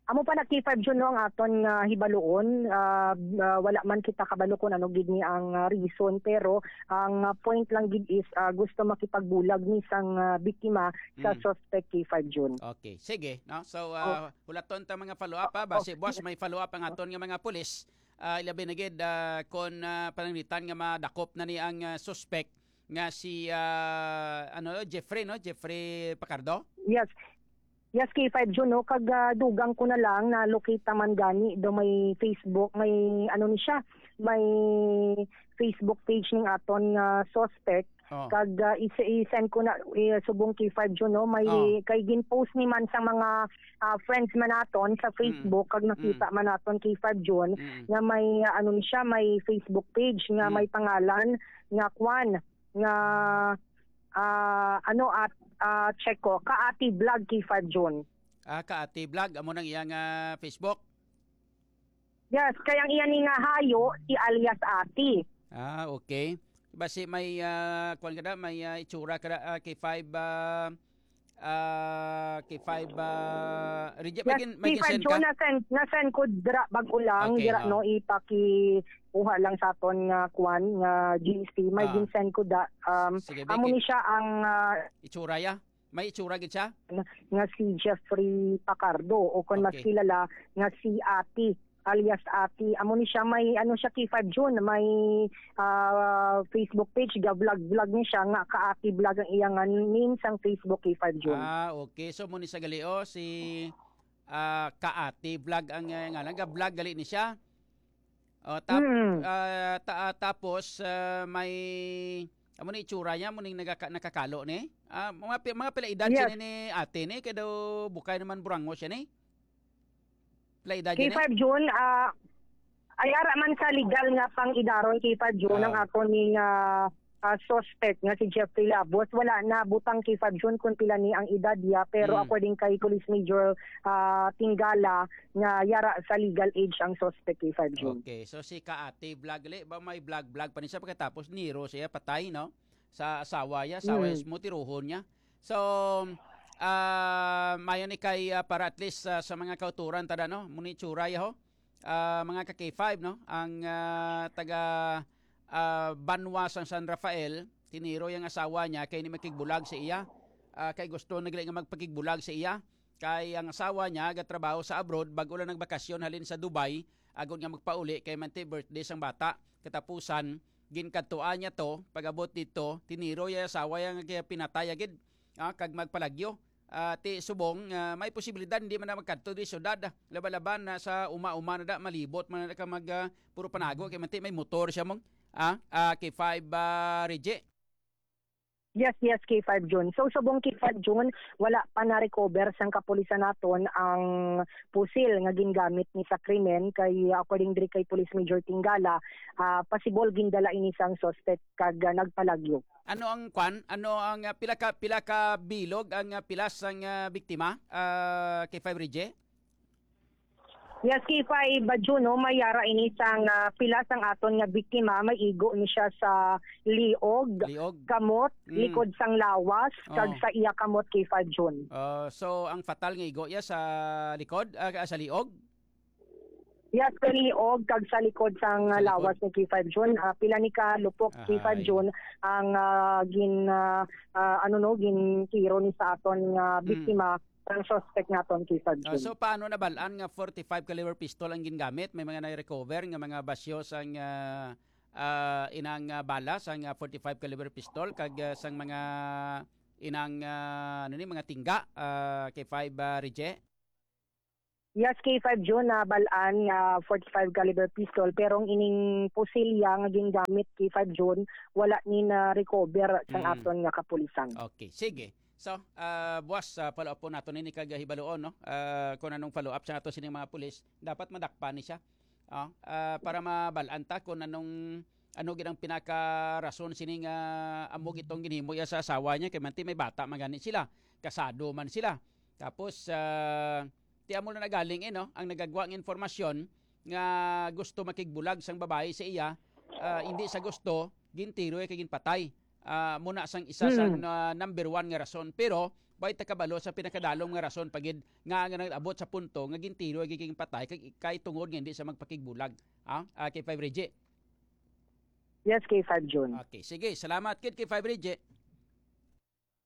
Amo pa na, K five June, no, ang aton nga hibaluon. Ah, ah, wala man kita kabalo kung ano gid ni ang, ah, reason, pero ang, ah, point lang gid is, ah, gusto makipagbulag ni sang, ah, biktima sa Mm. suspect, K five June. Okay, sige, no? So, Oh. ah, hulaton ta mga follow-up, ha? Oh, Basi, oh. Boss, may follow-up ang aton nga mga pulis. Ah, ilabi na gid, ah, kon, ah, pananglitan nga madakop na ni ang, ah, suspect nga si, ah, ano, Jeffrey, no? Jeffrey Pacardo? Yes. Yes, K five June, no? Kag, ah, dugang ko na lang, na-locate naman gani do may Facebook, may, ano ni siya, may Facebook page ning aton nga suspect. Oh. Kag, ah, is-, i-send ko na, eh, subong K five June, no? May, Oh. kay gin-post ni man sa mga, ah, friends man naton sa Mm. Facebook, kag nakita Mm. man naton K five June, Mm. nga may, ah, ano ni siya, may Facebook page nga Mm. may pangalan nga kwan, nga, ah, ano, at, ah, check ko, Kaati Vlog, K five June. Ah, Kaati Vlog, amo nang iya nga Facebook? Yes, kay ang iya ni nga hayo, si alias Ati. Ah, okay. Basi may, ah, kuwan ka na, may, ah, itsura ka na, ah, K five, ah, ah, K five, ah, Regi-, may Yes, gin-, may K five ginsend ka? June, na-send, na-send ko dira, bag-o lang, Okay, dira, oh. no, ipaki-, kuha lang sa aton nga kuwan, nga G C. May Ah. ginsend ko da, um, Sige, amo Vicky. ni siya ang, ah, Itsura ya? May itsura gid siya? nga, nga si Jeffrey Pacardo, o kung mas Okay. kilala, nga si Ati, alias Ati. Amo ni siya, may, ano siya, K five June, may, ah, Facebook page, ga-vlog-vlog ni siya, nga Kaati Vlog ang iya nga name sang Facebook, K five June. Ah, okay. So, mo ni sa gali, oh, si, ah, Kaati Vlog ang, eh, ngalan. Ga-vlog gali ni siya. Oh, tap-, Mm. ah, ta-, ah, tapos, ah, may, amo ni itsura niya, mo ning nagaka-, nakakalo ni? Ah, mga pi-, mga pila edad Yes. siya ni, ni ate ni? Kaya daw bukay naman burango siya ni? Pila edad niya ni? K five June, ah, ay ara man sa legal nga pang-idaron, K five June, ang Ah. aton ni nga, ah, suspect nga si Jeffrey Labos. Wala na butang, K five June, kung pila ni ang edad niya, pero Hmm. according kay Police Major, ah, Tingala, nga yara sa legal age ang suspect, K five June. Okay, so si Kaati Vlog, li, ba may vlog-vlog pa ni siya pagkatapos niro siya patay, no? Sa asawa niya, asawa niya, Mm. mo tiruhon niya. So, ah, mayo ni kay, ah, para at least, ah, sa mga kauturan, tada, no? Muni tsura ya, ho? Ah, mga ka K five, no? Ang, ah, taga, ah, banwa sang San Rafael, tiniro yang asawa niya kay ni makigbulag sa iya. Ah, kay gusto na gali nga magpakigbulag sa iya. Kay ang asawa niya gatrabaho sa abroad, bag-o lang nagbakasyon halin sa Dubai, agod nga magpauli kay manti birthday sang bata. Katapusan, ginkadtuan niya to, pag-abot dito, tiniro ya asawa ya nga pinatay agid, ah, kag magpalagyo. Ah, ti subong, ah, may posibilidad hindi man na magkadto di syudad, ah. Laban-laban na sa uma-uma na da, malibot man na ka mag, ah, puro panago kay manti may motor siya mong, ah, ah, K five, ah, Reggie. Yes, yes, K five June. So, subong K five June, wala pa na-recover sang kapulisan naton ang pusil nga gingamit ni sa krimen kay, according diri kay Police Major Tingala, ah, pasibol gindala ini sang suspect kag, ah, nagpalagyo. Ano ang kwan? Ano ang, ah, pila ka, pila ka bilog ang, ah, pilas sang, ah, biktima, ah, K five Reggie? Yes, K five, June, no, may yara ini sang, ah, pila sang aton nga biktima, may igo ni siya sa liog, Liog? kamot, Mm. likod sang lawas, kag Oh. sa iya kamot, K five June. Ah, so, ang fatal nga igo iya sa likod, ah, sa liog? Yes, sa liog kag sa likod sang, ah, Sa likod. lawas ni K five Jun. Ah, pila ni ka lupok, K five Ahay. Jun, ang, ah, gin, ah, ah, ano, no, gintiro ni sa aton nga Mm. biktima, ang suspect naton, K five Ah, Jun. So, paano nabal-an nga forty-five caliber pistol ang gingamit? May mga na-recover nga mga basyo sang, ah, ah, inang, ah, bala sang, ah, forty-five caliber pistol kag, ah, sang mga inang, ah, ano ni, mga tingga, ah, K five, ah, Rije? Yes, K five Jun, nabal-an nga forty-five caliber pistol, pero ang ining pusilya nga gingamit, K five Jun, wala ni na-recover sang Mm. aton nga kapulisan. Okay, sige. So, ah, buwas, ah, follow up po nato nini kag hibaluon, no? Ah, kung anong follow up sa ato sining mga pulis, dapat madakpan ni siya. Ah, ah, para mabal-an ta kung anong, ano gid ang pinaka-rason sining, ah, amo gitong ginhimo iya sa asawa niya, kay manti may bata man gani sila, kasado man sila. Tapos, ah, ti amo na nagaling, eh, no? Ang nagagwa nga informasyon nga gusto makigbulag sang babayi sa iya, ah, hindi sa gusto, gintiro iya kay ginpatay. Ah, muna sang isa sang, Mm. ah, number one nga rason. Pero, way ta kabalo sa pinakadalom nga rason pa gid nga, nga nag-abot sa punto nga gintiro iya kay ginpatay kay, kay tungod nga hindi siya magpakigbulag. Ah, ah, K five Reggie. Yes, K five Jun. Okay, sige. Salamat gid, K five Reggie.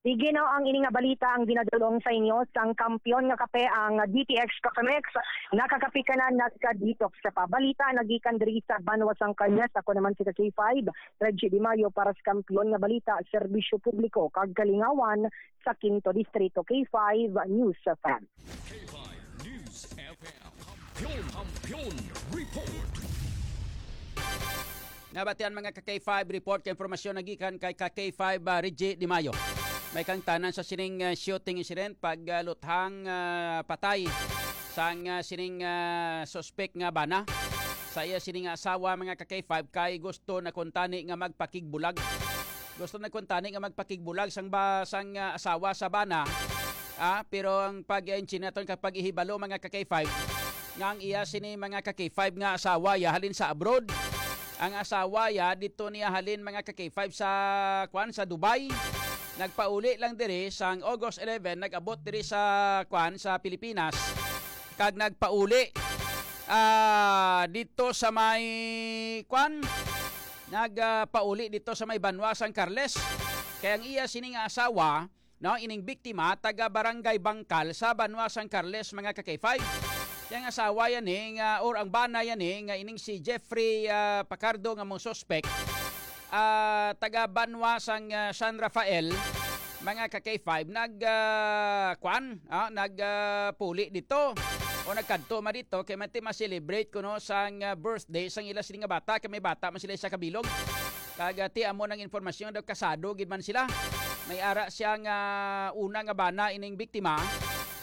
Sige, no, ang ini nga balita ang ginadulong sa inyo sang kampiyon nga kape, ang D T X Cafe Mix. Nakakape ka na, nagka-detox ka pa. Balita nagikan diri sa Banwa sang Cañas. Ako naman si K five, Reggie Di Mayo, para sa kampiyon nga balita, serbisyo publiko kag kalingawan sa Quinto Distrito. K five News F M. K five News F M. Kampiyon, Kampiyon Report. Nabatian, mga ka K five, report kay impormasyon nagikan kay ka K five, ah, Reggie Di Mayo. May kangtanan sa sining, ah, shooting incident, pag, ah, luthang, ah, patay sang, ah, sining, ah, suspek nga bana. Sa iya sining asawa, mga ka K five, kay gusto na kuntani nga magpakigbulag. Gusto na kuntani nga magpakigbulag sang ba, sang, ah, asawa sa bana. Ah, pero ang pag-, ang chinaton kag pag-ihibalo, mga ka K five, nga ang iya sini, mga ka K five, nga asawa ya halin sa abroad. Ang asawa ya dito niya halin, mga ka K five, sa, kwan, sa Dubai. Nagpauli lang diri sang August eleven, nag-abot diri sa, kwan, sa Pilipinas. Kag nagpauli, ah, dito sa may, kwan, nag, ah, pauli dito sa may banwa sang Carles. Kay ang iya sini nga asawa, no, ining biktima, taga Barangay Bangkal sa banwa sang Carles, mga ka K five. Yang asawa yan, eh, nga, or ang bana yan, eh, nga ining si Jeffrey, ah, Pacardo nga mong suspect, ah, taga banwa sang, ah, San Rafael, mga ka K five, nag, ah, kwan, ah, nag, ah, puli dito o nagkadto ma dito kay man ti ma-celebrate kuno sang, ah, birthday sang ila sini nga bata, kay may bata man sila isa kabilog. Kag, ah, ti amo nang informasyon daw kasado gid man sila. May ara siya nga una nga bana ining biktima,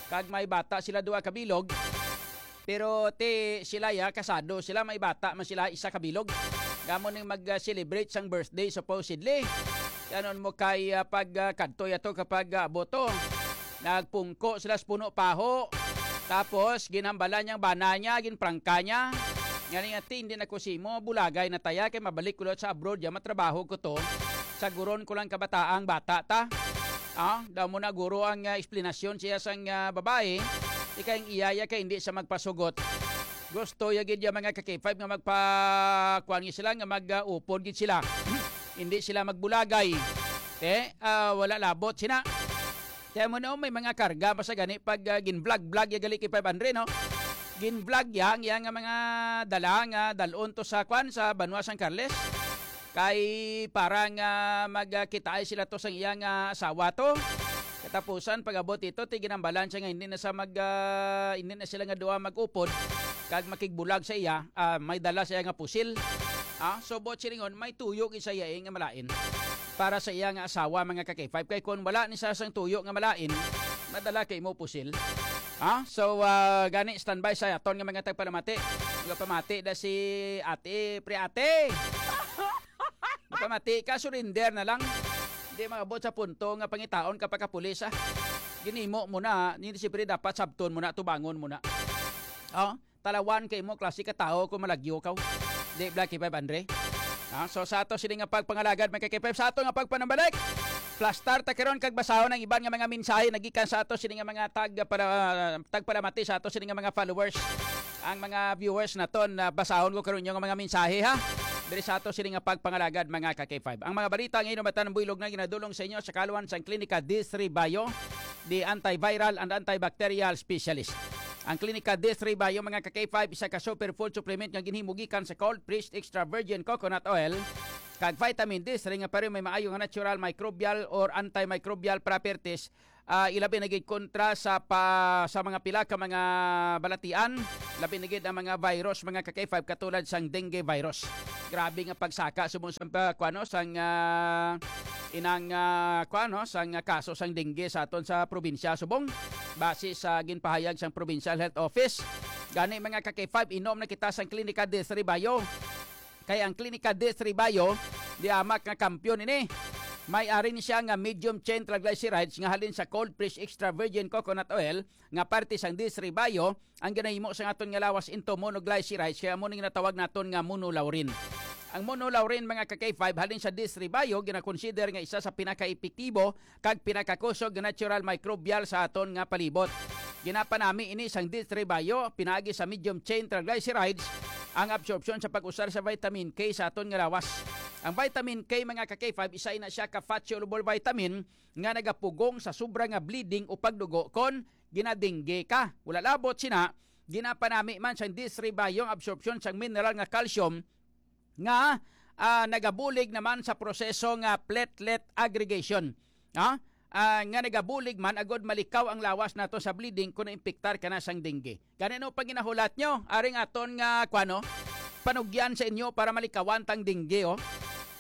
kag may bata sila duha kabilog. Pero ti sila ya, kasado sila, may bata man sila, isa kabilog. Gamo ning mag-celebrate sang birthday, supposedly. Kanon mo kay, ah, pag, ah, kadto yato kapag, ah, boto. Nagpungko sila sa puno paho. Tapos, ginhambalan niyang bana niya, ginprangka niya. Nga niya, "Ti, hindi na ko simo, bulagay na taya, kay mabalik ko lang sa abroad, ya matrabaho ko to. Saguron ko lang kabataang bata ta." Ah, daw mo na guro ang, ah, eksplanasyon siya sang, ah, babae, ikay ang iya ya kay hindi siya magpasugot. Gusto ya gid ya mga ka K five nga magpa-, kuwan gid sila, nga mag, ah, upod gid sila. Hindi sila magbulagay. Te, ah, wala labot sina. Kaya mo na, oh, may mga karga pa sa gani pag, ah, gin-vlog-vlog ya gali kay five hundred, no? Gin-vlog ya ang iya nga mga dala nga dalon to sa, kwan, sa banwa sang Carles. Kay para nga magkitaay sila to sang iya nga asawa to. Katapusan, pag-abot ito, ti ginambalan siya nga hindi na sa mag, ah, hindi na sila nga duha mag-upod kag makigbulag sa iya, ah, may dala siya nga pusil. Ah, so, buot silingon, may tuyo gid sa iya, eh, nga malain para sa iya nga asawa, mga ka K five. Kay kung wala ni sa sang tuyo nga malain, madala kay mo pusil. Ha? So, ah, gani, standby sa aton nga mga tagpalamati. Nga pamati da si ate, pre ate. Nga pamati ka, surrender na lang. Hindi maabot sa punto nga pangitaon ka pa ka pulis, ah. Ginimo mo na, hindi siyempre dapat sabton mo na, tubangon mo na. Oh, talawan kay mo, klase ka tao kung malagyo ka. Di, Black K five Andre. Ah, so sa ato sini nga pagpangalagad, mga K five, sa ato nga pagpanambalik, plastar ta karon kag basahon ang iban nga mga mensahe nagikan sa ato sini nga mga tag para, tagpalamati sa ato sini nga mga followers. Ang mga viewers naton, ah, basahon ko karon yung mga mensahe, ha. Diri sa ato sini nga pagpangalagad, mga ka K five. Ang mga balita nga inumatan buylog na ginadulong sa inyo sa kaluan sang Klinika D three Bio, the antiviral and antibacterial specialist. Ang Klinika D three Bio, mga ka K five, isa ka superfood supplement nga ginhimo gikan sa cold pressed extra virgin coconut oil kag vitamin D three nga pareho may maayo nga natural microbial or antimicrobial properties, ah, ilabi na gid kontra sa pa, sa mga pila ka mga balatian, labi na gid ang mga virus, mga ka K five, katulad sang dengue virus. Grabe nga pagsaka subong sa pa, kuano, sang, ah, inang, ah, kuano, sang, ah, kaso sang dengue sa aton sa probinsya subong, base sa ginpahayag sang Provincial Health Office. Gani, mga ka K five, inom na kita sang Klinika D three Bio. Kay ang Klinika D three Bio, di amak nga kampiyon ini. May arin siya nga medium chain triglycerides nga halin sa cold pressed extra virgin coconut oil nga parte sang D three Bio ang ginahimo sa aton nga lawas into monoglycerides, kaya amo ning natawag naton nga monolaurin. Ang monolaurin, mga ka K five, halin sa D three Bio, ginakonsider nga isa sa pinakaepektibo kag pinakakusog nga natural microbial sa aton nga palibot. Ginapanami ini sang D three Bio, pinaagi sa medium chain triglycerides, ang absorpsyon sa pag-usar sa vitamin K sa aton nga lawas. Ang vitamin K, mga ka K five, isa na siya ka fat-soluble vitamin nga nagapugong sa sobra nga bleeding o pagdugo kon ginadingge ka. Wala labot sina, ginapanami man sang D three Bio ang absorpsyon sang mineral nga calcium nga, ah, nagabulig naman sa proseso nga platelet aggregation. Ha? Ah, nga nagabulig man agud malikaw ang lawas nato sa bleeding kung naimpiktar ka na sang dengue. Gani, ano pa ginahulat nyo? Aring aton nga, kuano, panugyan sa inyo para malikawan tang dengue, oh.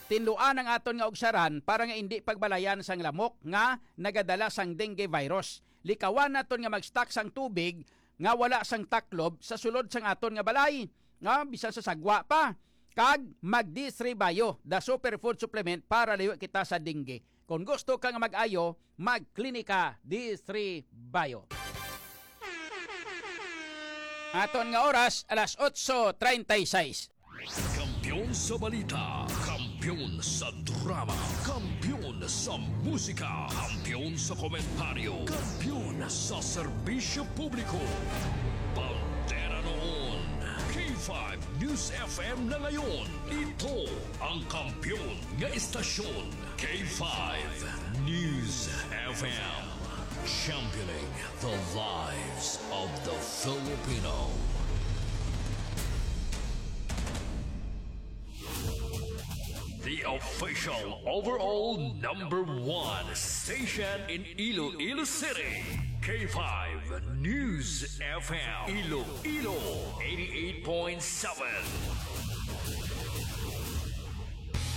Tinluan ang aton nga ugsaran para nga indi pagbalayan sang lamok nga nagadala sang dengue virus. Likawan naton nga mag-stock sang tubig nga wala sang taklob sa sulod sang aton nga balay, nga bisan sa sagwa pa. Kag mag D three Bio, the superfood supplement para liwi kita sa dengue. Kung gusto ka nga mag-ayo, magklinika D three Bio. Aton nga oras, alas otso treinta y seis. Kampiyon sa balita, kampiyon sa drama, kampiyon sa musika, kampiyon sa komentaryo, kampiyon sa serbisyo publiko. Bandera noon, K five News F M na ngayon. Ito ang kampiyon nga estasyon, K five News F M. Championing the lives of the Filipino. The official overall number one station in Iloilo City, K five News F M, Iloilo, eighty-eight point seven.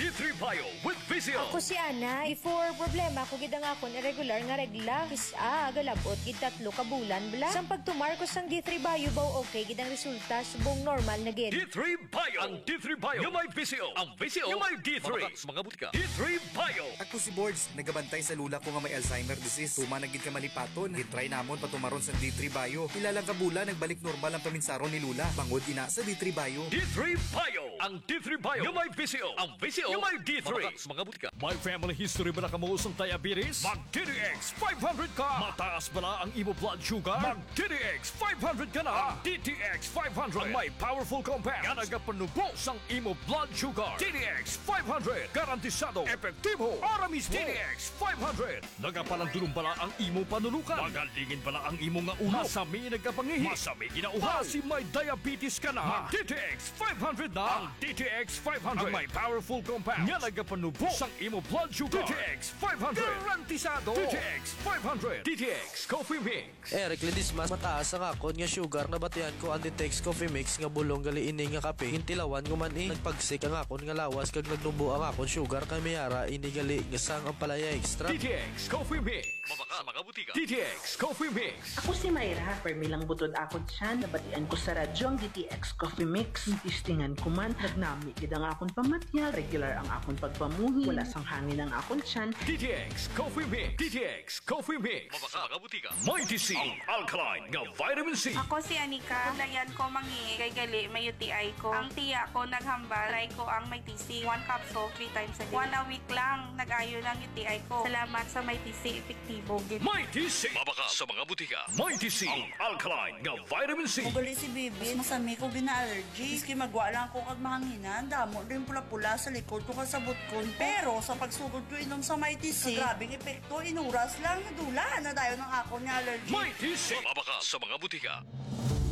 D three Bio with V C O. Ako si Ana. Before, problema ko gid ang akon irregular nga regla. Kis-a, galabot gid tatlo ka bulan bala. Sang pagtumar ko sang D three Bio, baw okay gid ang resulta, subong normal na gid. D three Bio. Ang D three Bio nga may V C O. Ang V C O nga may D three. Mabakak sa mga butika. D three Bio. Ako si Bords, nagabantay sa lola ko nga may Alzheimer disease. Tuman na gid ka malipaton. Gitry namon patumaron sang D three Bio. Pila lang ka bulan, nagbalik normal ang paminsaron ni lola. Bangod ina sa D three Bio. D three Bio. Ang D three Bio nga may V C O. Ang V C O nga may D three. Mabakak sa mga butika. May family history ba na kamo sang diabetes? Mag D T X five hundred ka. Mataas bala ang imo blood sugar? Mag D T X five hundred ka na. Ang D T X five hundred ang may powerful compound nga nagapanubo sang imo blood sugar. D T X five hundred, garantisado, epektibo, para mismo. D T X five hundred, nagapalandulong bala ang imo panulukan? Magalingin bala ang imo nga ulo? Masami nagkapangihi? Masami ginauhaw? Para si may diabetes ka na? Mag D T X five hundred na. Ang D T X five hundred ang may powerful compound nga nagapanubo sang imo blood sugar. D T X five hundred, garantisado. D T X five hundred, D T X Coffee Mix. Eric Ledesma, mataas ang akon nga sugar. Nabatian ko ang D T X Coffee Mix nga bulong gali ini nga kape. Gintilawan ko man, eh. Nagpagsik ang akon nga lawas kag nagnubo ang akon sugar, kay may ara ini gali nga sang ampalaya extract. D T X Coffee Mix. Mabakak sa mga butika. D T X Coffee Mix. Ako si Myra. Permi lang butod akon tiyan. Nabatian ko sa radyo ang D T X Coffee Mix. Testingan ko man. Nagnami gid ang akon pamatyag. Regular Ang akon pagpamuhi, wala sang hangin ang akon tiyan. D T X Coffee Mix. D T X Coffee Mix. Mabakal sa mga butika. Mighty C, ang alkaline nga vitamin C. Ako si Anika. Bulayan ko mangi kay gali may U T I ko. Ang tiya ko naghambal, try ko ang Mighty C. One capsule, three times a day. One a week lang, nag-ayo ng U T I ko. Salamat sa Mighty C, epektibo gid. Mighty C. Mabakal sa mga butika. Mighty C, ang alkaline nga vitamin C. Kung gali si Bibi, masami ko gina-allergy. Miski magwa lang ko kag mahanginan, damo din pula-pula sa likod ko kag sa butkon ko. Pero sa pagsugod ko inom sa Mighty C, grabing epekto, inuras lang, nadula na dayon ang akon nga allergy. Mighty C. Mabakal sa mga butika.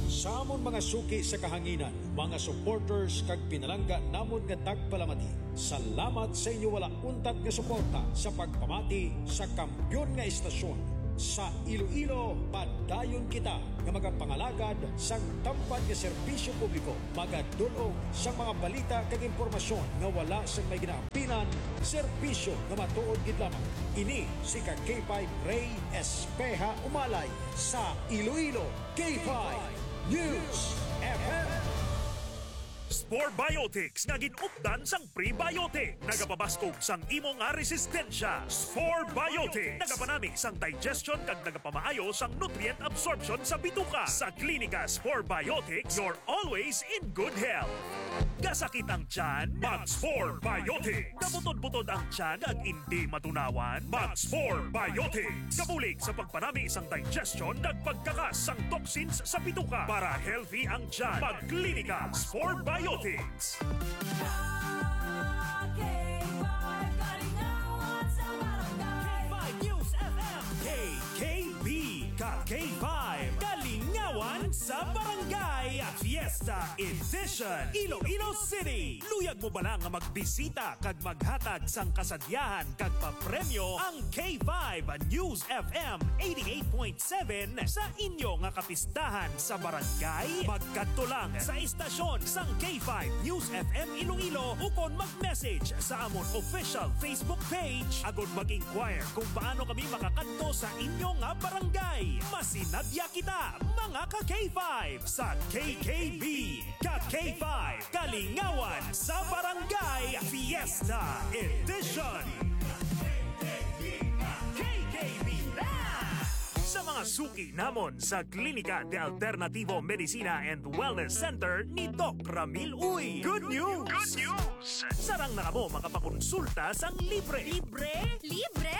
Sa amon mga suki sa kahanginan, mga supporters kag pinalangga namon nga tagpalamati, salamat sa inyo wala untat nga suporta sa pagpamati sa kampiyon nga istasyon. Sa Iloilo, padayon kita nga magapangalagad sang tampad nga serbisyo publiko, magadul-ong sang mga balita kag impormasyon nga wala sang may ginaampinan, serbisyo nga matuod gid lamang. Ini si ka K five Rey Espeha Umalay sa Iloilo, K five News F M. Spore Biotics nga gin-updan sang prebiotic. Nagapabaskog sang imo nga resistensya. Spore Biotics. Nagapanami sang digestion kag nagapamaayo sang nutrient absorption sa bituka. Sa Klinika Spore Biotics, you're always in good health. Kasakit ang tiyan? Mag Spore Biotics. Kabutod-butod ang tiyan kag indi matunawan? Mag Spore Biotics. Kabulig sa pagpanami sang digestion kag pagkakas sang toxins sa bituka para healthy ang tiyan. Mag Klinika Spore Biotics. K five News F M. K K B, ka K five, Kalingawan sa Barangay, Fiesta Edition, Iloilo City. Luyag mo bala nga magbisita kag maghatag sang kasadyahan kag papremyo ang K five News F M eighty-eight point seven sa inyo nga kapistahan sa barangay? Magkadto lang sa istasyon sang K five News F M Iloilo ukon mag-message sa amon official Facebook page agod mag-inquire kung paano kami makakadto sa inyo nga barangay. Masinadya kita, mga ka K five, sa K K B, ka K five, Kalingawan sa Barangay Fiesta Edition. K K B Band! Sa mga suki namon sa Klinika de Alternativo Medicina and Wellness Center ni Doc Ramil Uy. Good news! Good news! Sarang na kamo makapakonsulta sang libre. Libre? Libre!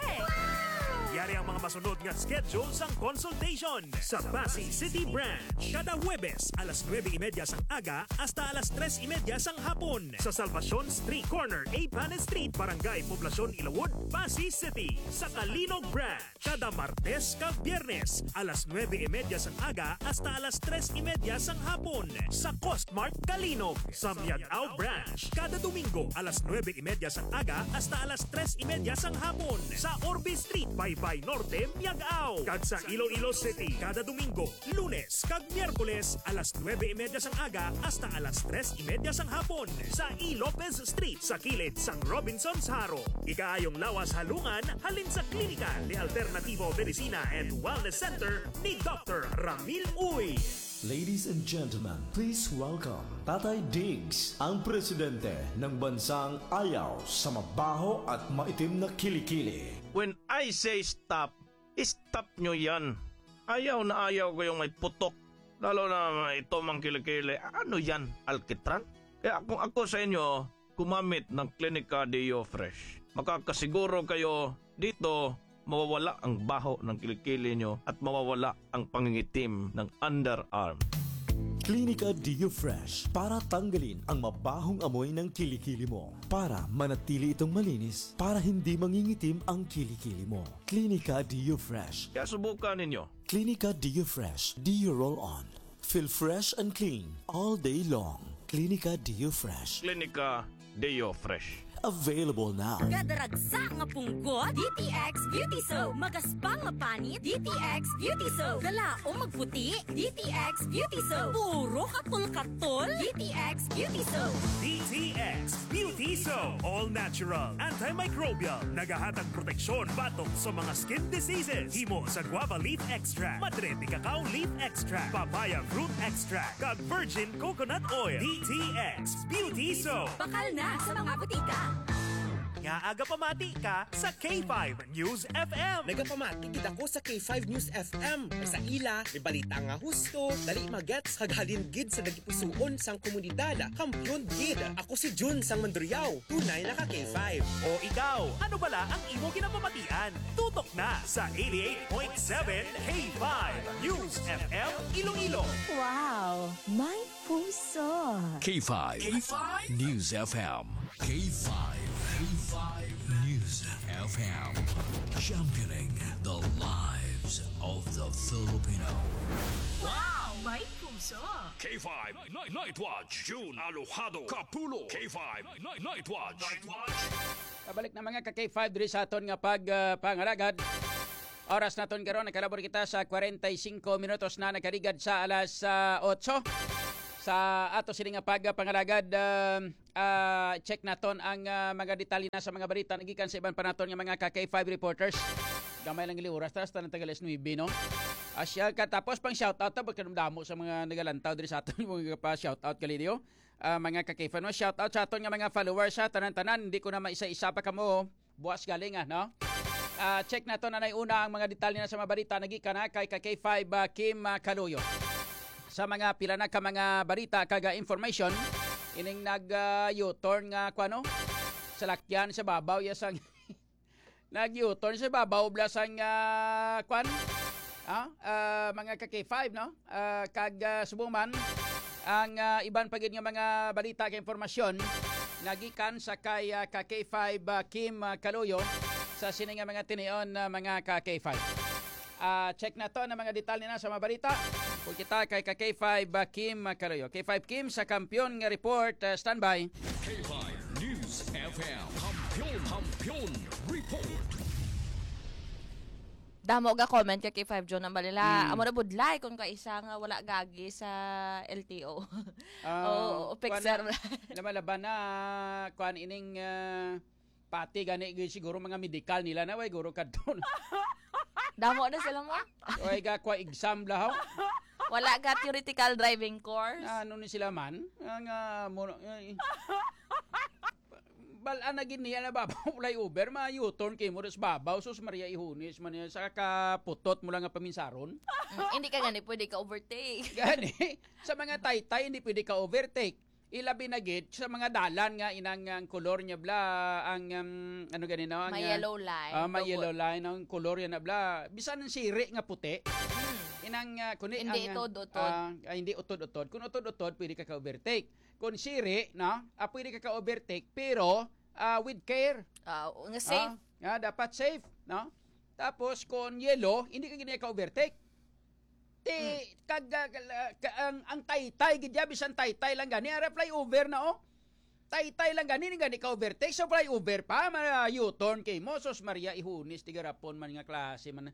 Yari ang mga masunod nga schedule sang consultation. Sa Passi City Branch, kada Huwebes, alas nuebe y media sang aga hasta alas tres y media sang hapon. Sa Salvacion Street, corner A Panes Street, Barangay Poblacion, Ilawod, Passi City. Sa Calinog Branch, kada Martes kag Biyernes, alas nuebe y media sang aga hasta alas tres y media sang hapon. Sa Costmart Calinog, sa Miag-ao Branch, kada Domingo, alas nuebe y media sang aga hasta alas tres y media sang hapon. Sa Orbe Street, Baybay Norte, Miag-ao. Kag sa Iloilo City, kada Domingo, Lunes kag Miyerkules, alas nuebe y media sang aga hasta alas tres y media sang hapon, sa E. Lopez Street, sa kilid sang Robinsons Jaro. Ikaayong lawas halungan halin sa Klinika de Alternativo Medicina and Wellness Center ni Doctor Ramil Uy. Ladies and gentlemen, please welcome Tatay Diggs, ang presidente ng bansang ayaw sa mabaho at maitim na kilikili. When I say stop, stop nyo yan. Ayaw na ayaw ko yung may putok. Lalo na ito mang kilikili. Ano yan? Alkitran? Kaya kung ako sa inyo, gumamit ng Klinika Deo Fresh. Makakasiguro kayo dito mawawala ang baho ng kilikili nyo at mawawala ang pangingitim ng underarm. Klinika Deo Fresh para tanggalin ang mabahong amoy ng kilikili mo. Para manatili itong malinis, para hindi mangingitim ang kilikili mo. Klinika Deo Fresh. Kaya subukan ninyo. Klinika Deo Fresh Deo Roll On. Feel fresh and clean all day long. Klinika Deo Fresh. Klinika Deo Fresh. Available now. Kadaragsa nga punggot, D T X Beauty Soap. Magaspang nga panit, D T X Beauty Soap. Kalaom magputi, D T X Beauty Soap. Puro katol-katol, D T X Beauty Soap. D T X Beauty Soap. All natural, antimicrobial. Nagahatag proteksyon batok sa mga skin diseases. Himo sa guava leaf extract, madre de cacao leaf extract, papaya fruit extract, kag virgin coconut oil. D T X Beauty Soap. Bakal na sa mga butika. Nagapamati ka sa K five News F M. Nagapamati gid ako sa K five News F M. Kay sa ila, may balita nga husto, dali magets, kag halin gid sa dagipusoon sang komunidad. Kampiyon gid. Ako si Jun sang Mandurriao. Tunay na ka K five. O ikaw, ano bala ang imo ginapamatian? Tutok na sa eighty-eight point seven K five News F M Iloilo. Wow! May puso. K five. K five News F M. K five. K five News F M. Championing the lives of the Filipino. Wow! May puso. K five Night, Night Watch, June Alojado Kapulo. K five Night, Night Watch. Night Watch. Pabalik na, mga ka K five, diri sa aton nga pag, ah, pangalagad. Oras naton karon, nakalabor kita sa kwarenta y singko minutos na nakaligad sa alas, ah, otso. Sa ato sini nga pag, ah, pangalagad, ah, ah, check naton ang, ah, mga detalye na sa mga balita nagikan sa iban pa naton nga mga ka K five reporters. Gamay lang gali oras, tas tanan taga alas nuebe, no? Asya ka, tapos pang shoutout, ta, ba't kanang damo sa mga nagalantaw diri sa aton, mga pa-shoutout gali niyo. Ah, mga ka-K five, no? Shoutout sa aton nga mga followers, ha, tanan-tanan. Hindi ko na maisa-isa pa kamo. Buwas galing, ah, no? Ah, check naton anay una ang mga detalye na sa mga balita nagikan, ha, kay ka K five, ah, Kim, ah, Kaluyo. Sa mga pila na ka mga balita kag, ah, information, ining nag, ah, U-turn nga, kuwano? Salakyan sa babaw ya sang nag-U-turn sa babaw bala sang, ah, kwan? Ah, ah, mga ka K five, no? Ah, kag, ah, subong man, ang, ah, iban pa gid nga mga balita kag impormasyon nagikan sa kay, ah, ka K five, ah, Kim, ah, Kaluyo sa sini nga mga tinion, ah, mga ka K five. Ah, check naton ang mga detalye na sa mga balita. Kung kita kay ka K five, ah, Kim, ah, Kaluyo. K five Kim sa Kampiyon nga report, ah, standby. K five News F M. Kampiyon, Kampiyon Report. Damo ga comment ka kay Five John ang balila. Hmm. Amo na budlay kung kaisa nga wala gagi sa L T O. Ah, oo, kuwan fixer. Na, lumalaban na, kuwan ining, ah, pati gani, gi-, siguro mga medical nila na, way, guro kadto na. Damo na sila mo? Way, ga, kwa exam lahaw. Wala ga theoretical driving course? Na, ano ni sila man? Nga, nga, mo, ay, bal-an na gid niya na babaw flyover, ma-U-turn kay mo, sus babaw, sus Maria Ihunis, man niya, sa kaputot mo lang nga paminsaron. Mm, hindi ka gani pwede ka overtake. Gani, sa mga taytay, hindi pwede ka overtake. Ilabi na gid sa mga dalan nga inang ang kolor niya bla, ang, um, ano gani, no? Ang, may, ah, yellow line. Ah, may yellow line ang kolor niya na bla. Bisan ang siri nga puti. Hmm. Inang, ah, kuni hindi ang, utod-utod. Ah, ah, hindi utod-utod. Kung utod-utod, pwede ka ka-overtake. Kung siri, no? Ah, pwede ka ka-overtake, pero, ah, with care. Ah, nga safe. Ah, nga dapat safe, no? Tapos, kung yellow, hindi ka gid ka-overtake. Ti, mm, kag, ah, ka-, ang, ang taytay gid ya, bisan taytay lang gani, ara flyover na, oh. Taytay lang gani, ni gani ka-overtake, so flyover pa, ma-U-turn kay mo, sus Maria, Ihunis, tigarapon man nga klase man.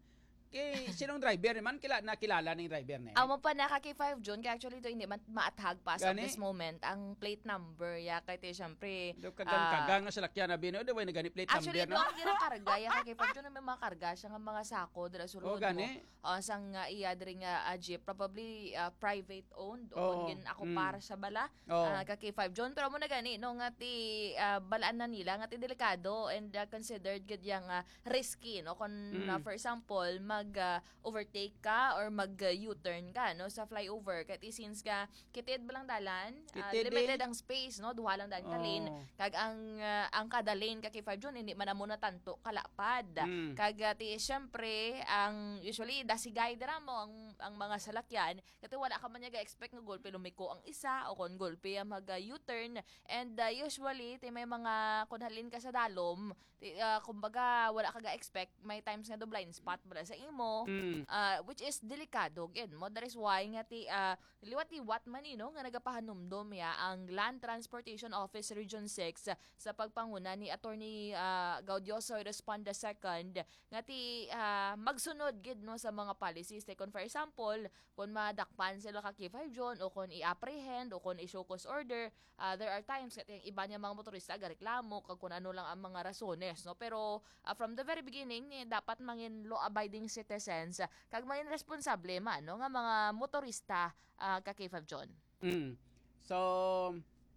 Kay, sinong driver man, kila-, nakilala ning driver na eh? Amo pa, naka K five June, kay actually to, hindi man maathag pa sa gani? This moment, ang plate number, ya, kay ti, syempre, do kagang-kagang ah, na salakyan na bino, di ba, nagani plate number, actually, no? Doon ginakarga, ya, kay K five June, may mga karga siya nga mga sako, dira sulod mo. Oh, gani? Ah, sang, ah, iya diri nga, ah, jeep, probably, ah, private owned o oo, kung gin-, ako mm, para sa bala, oo, ah, ka K five John. Pero amo na gani, no, nga ti, ah, balaan na nila, nga ti delikado and, ah, considered gid yang, ah, risky, no? Kung, mm, ah, for example, mag, ah, overtake ka or mag, ah, U-turn ka, no, sa flyover. Kay ti since nga, Kitid ba lang dalan? Ah, kitid, limited eh, ang space, no? Duha lang dalan ka lane. Oh. Kag ang, ah, ang kada lane ka K five June, hindi man amo natanto kalapad. Mm. Kag, ah, ti, syempre, ang usually, dasigay dira mo ang, ang mga salakyan. Kati wala ka man niya ga-expect nga gulpi lumiko ang isa o kon gulpi ang mag, ah, U-turn. And, ah, usually, ti may mga, kung halin ka sa dalom, Ti, ah, kumbaga, wala ka ga-expect, may times nga do blind spot bala sa imo. Mm. Ah, which is delikado gid mo. That is why nga ti, ah, liwat-liwat man ni, no, nga nagapahanumdom ya ang Land Transportation Office Region six sa pagpanguna ni Attorney, ah, Gaudioso Responda second nga ti, ah, magsunod gid, no, sa mga policies. Like, kung for example, kung madakpan sila ka K five John o kung i-apprehend o kung i-show cause order, Ah, there are times nga ang iba niya mga motorista gareklamo kag kung ano lang ang mga rasones, no? Pero, ah, from the very beginning, eh, dapat mangin law-abiding citizens, ah, kag mangin responsable man, no, nga mga motorista, ah, ka K five John. Mm. So,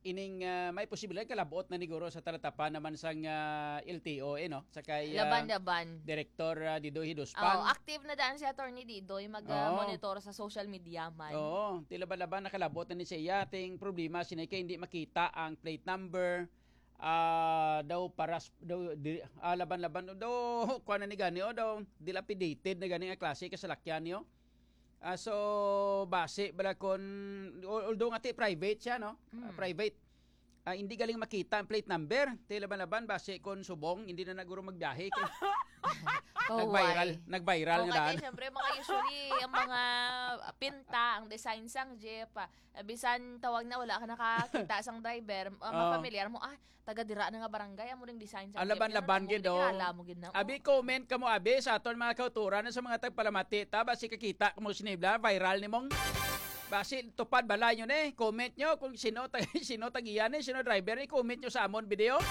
ining, ah, may posibilidad kalabot na ni guro sa talatapan naman sang, ah, L T O, eh, no? Sa kay, ah, Laban-laban. Director, ah, Didoy Hiduspang. Oh, active na daan si Attorney Didoy mag-monitor sa social media man. Oo, ti laban-laban nakalabot na ni siya. Ting problema sini kay hindi makita ang plate number. Ah, daw paras daw di, ah, laban-laban daw kuan na ni gani, oh, daw dilapidated na gani nga klase kasalakyan niyo. Ah, so base bala kon, al- although nga ti private siya, no? Ah, Mm. private. Ah, hindi galing makita ang plate number. Ti laban-laban base kon subong, hindi na naguro magbiyahe kay Oh, nag-viral, why? nag-viral Oh, nga kaya daan. Siyempre, mga usually, ang mga pinta, ang design sang jeep, ah, bisan tawag na wala ka nakakita sang driver, ah, Oh. mafamiliar mo, ah, taga dira na nga barangay, amo ring design sang Ang jeep. laban-laban Yun, gid, amo oh. kilala mo gid na. Abi, comment kamo, abi, sa aton mga kauturan, sa mga tagpalamati, ta, basi kakita kamo sinibla, viral ni mong. Basi tupad bala nyo ni. Comment nyo kung sino, ta, sino tagiyan ni, sino driver ni. Comment nyo sa amon video.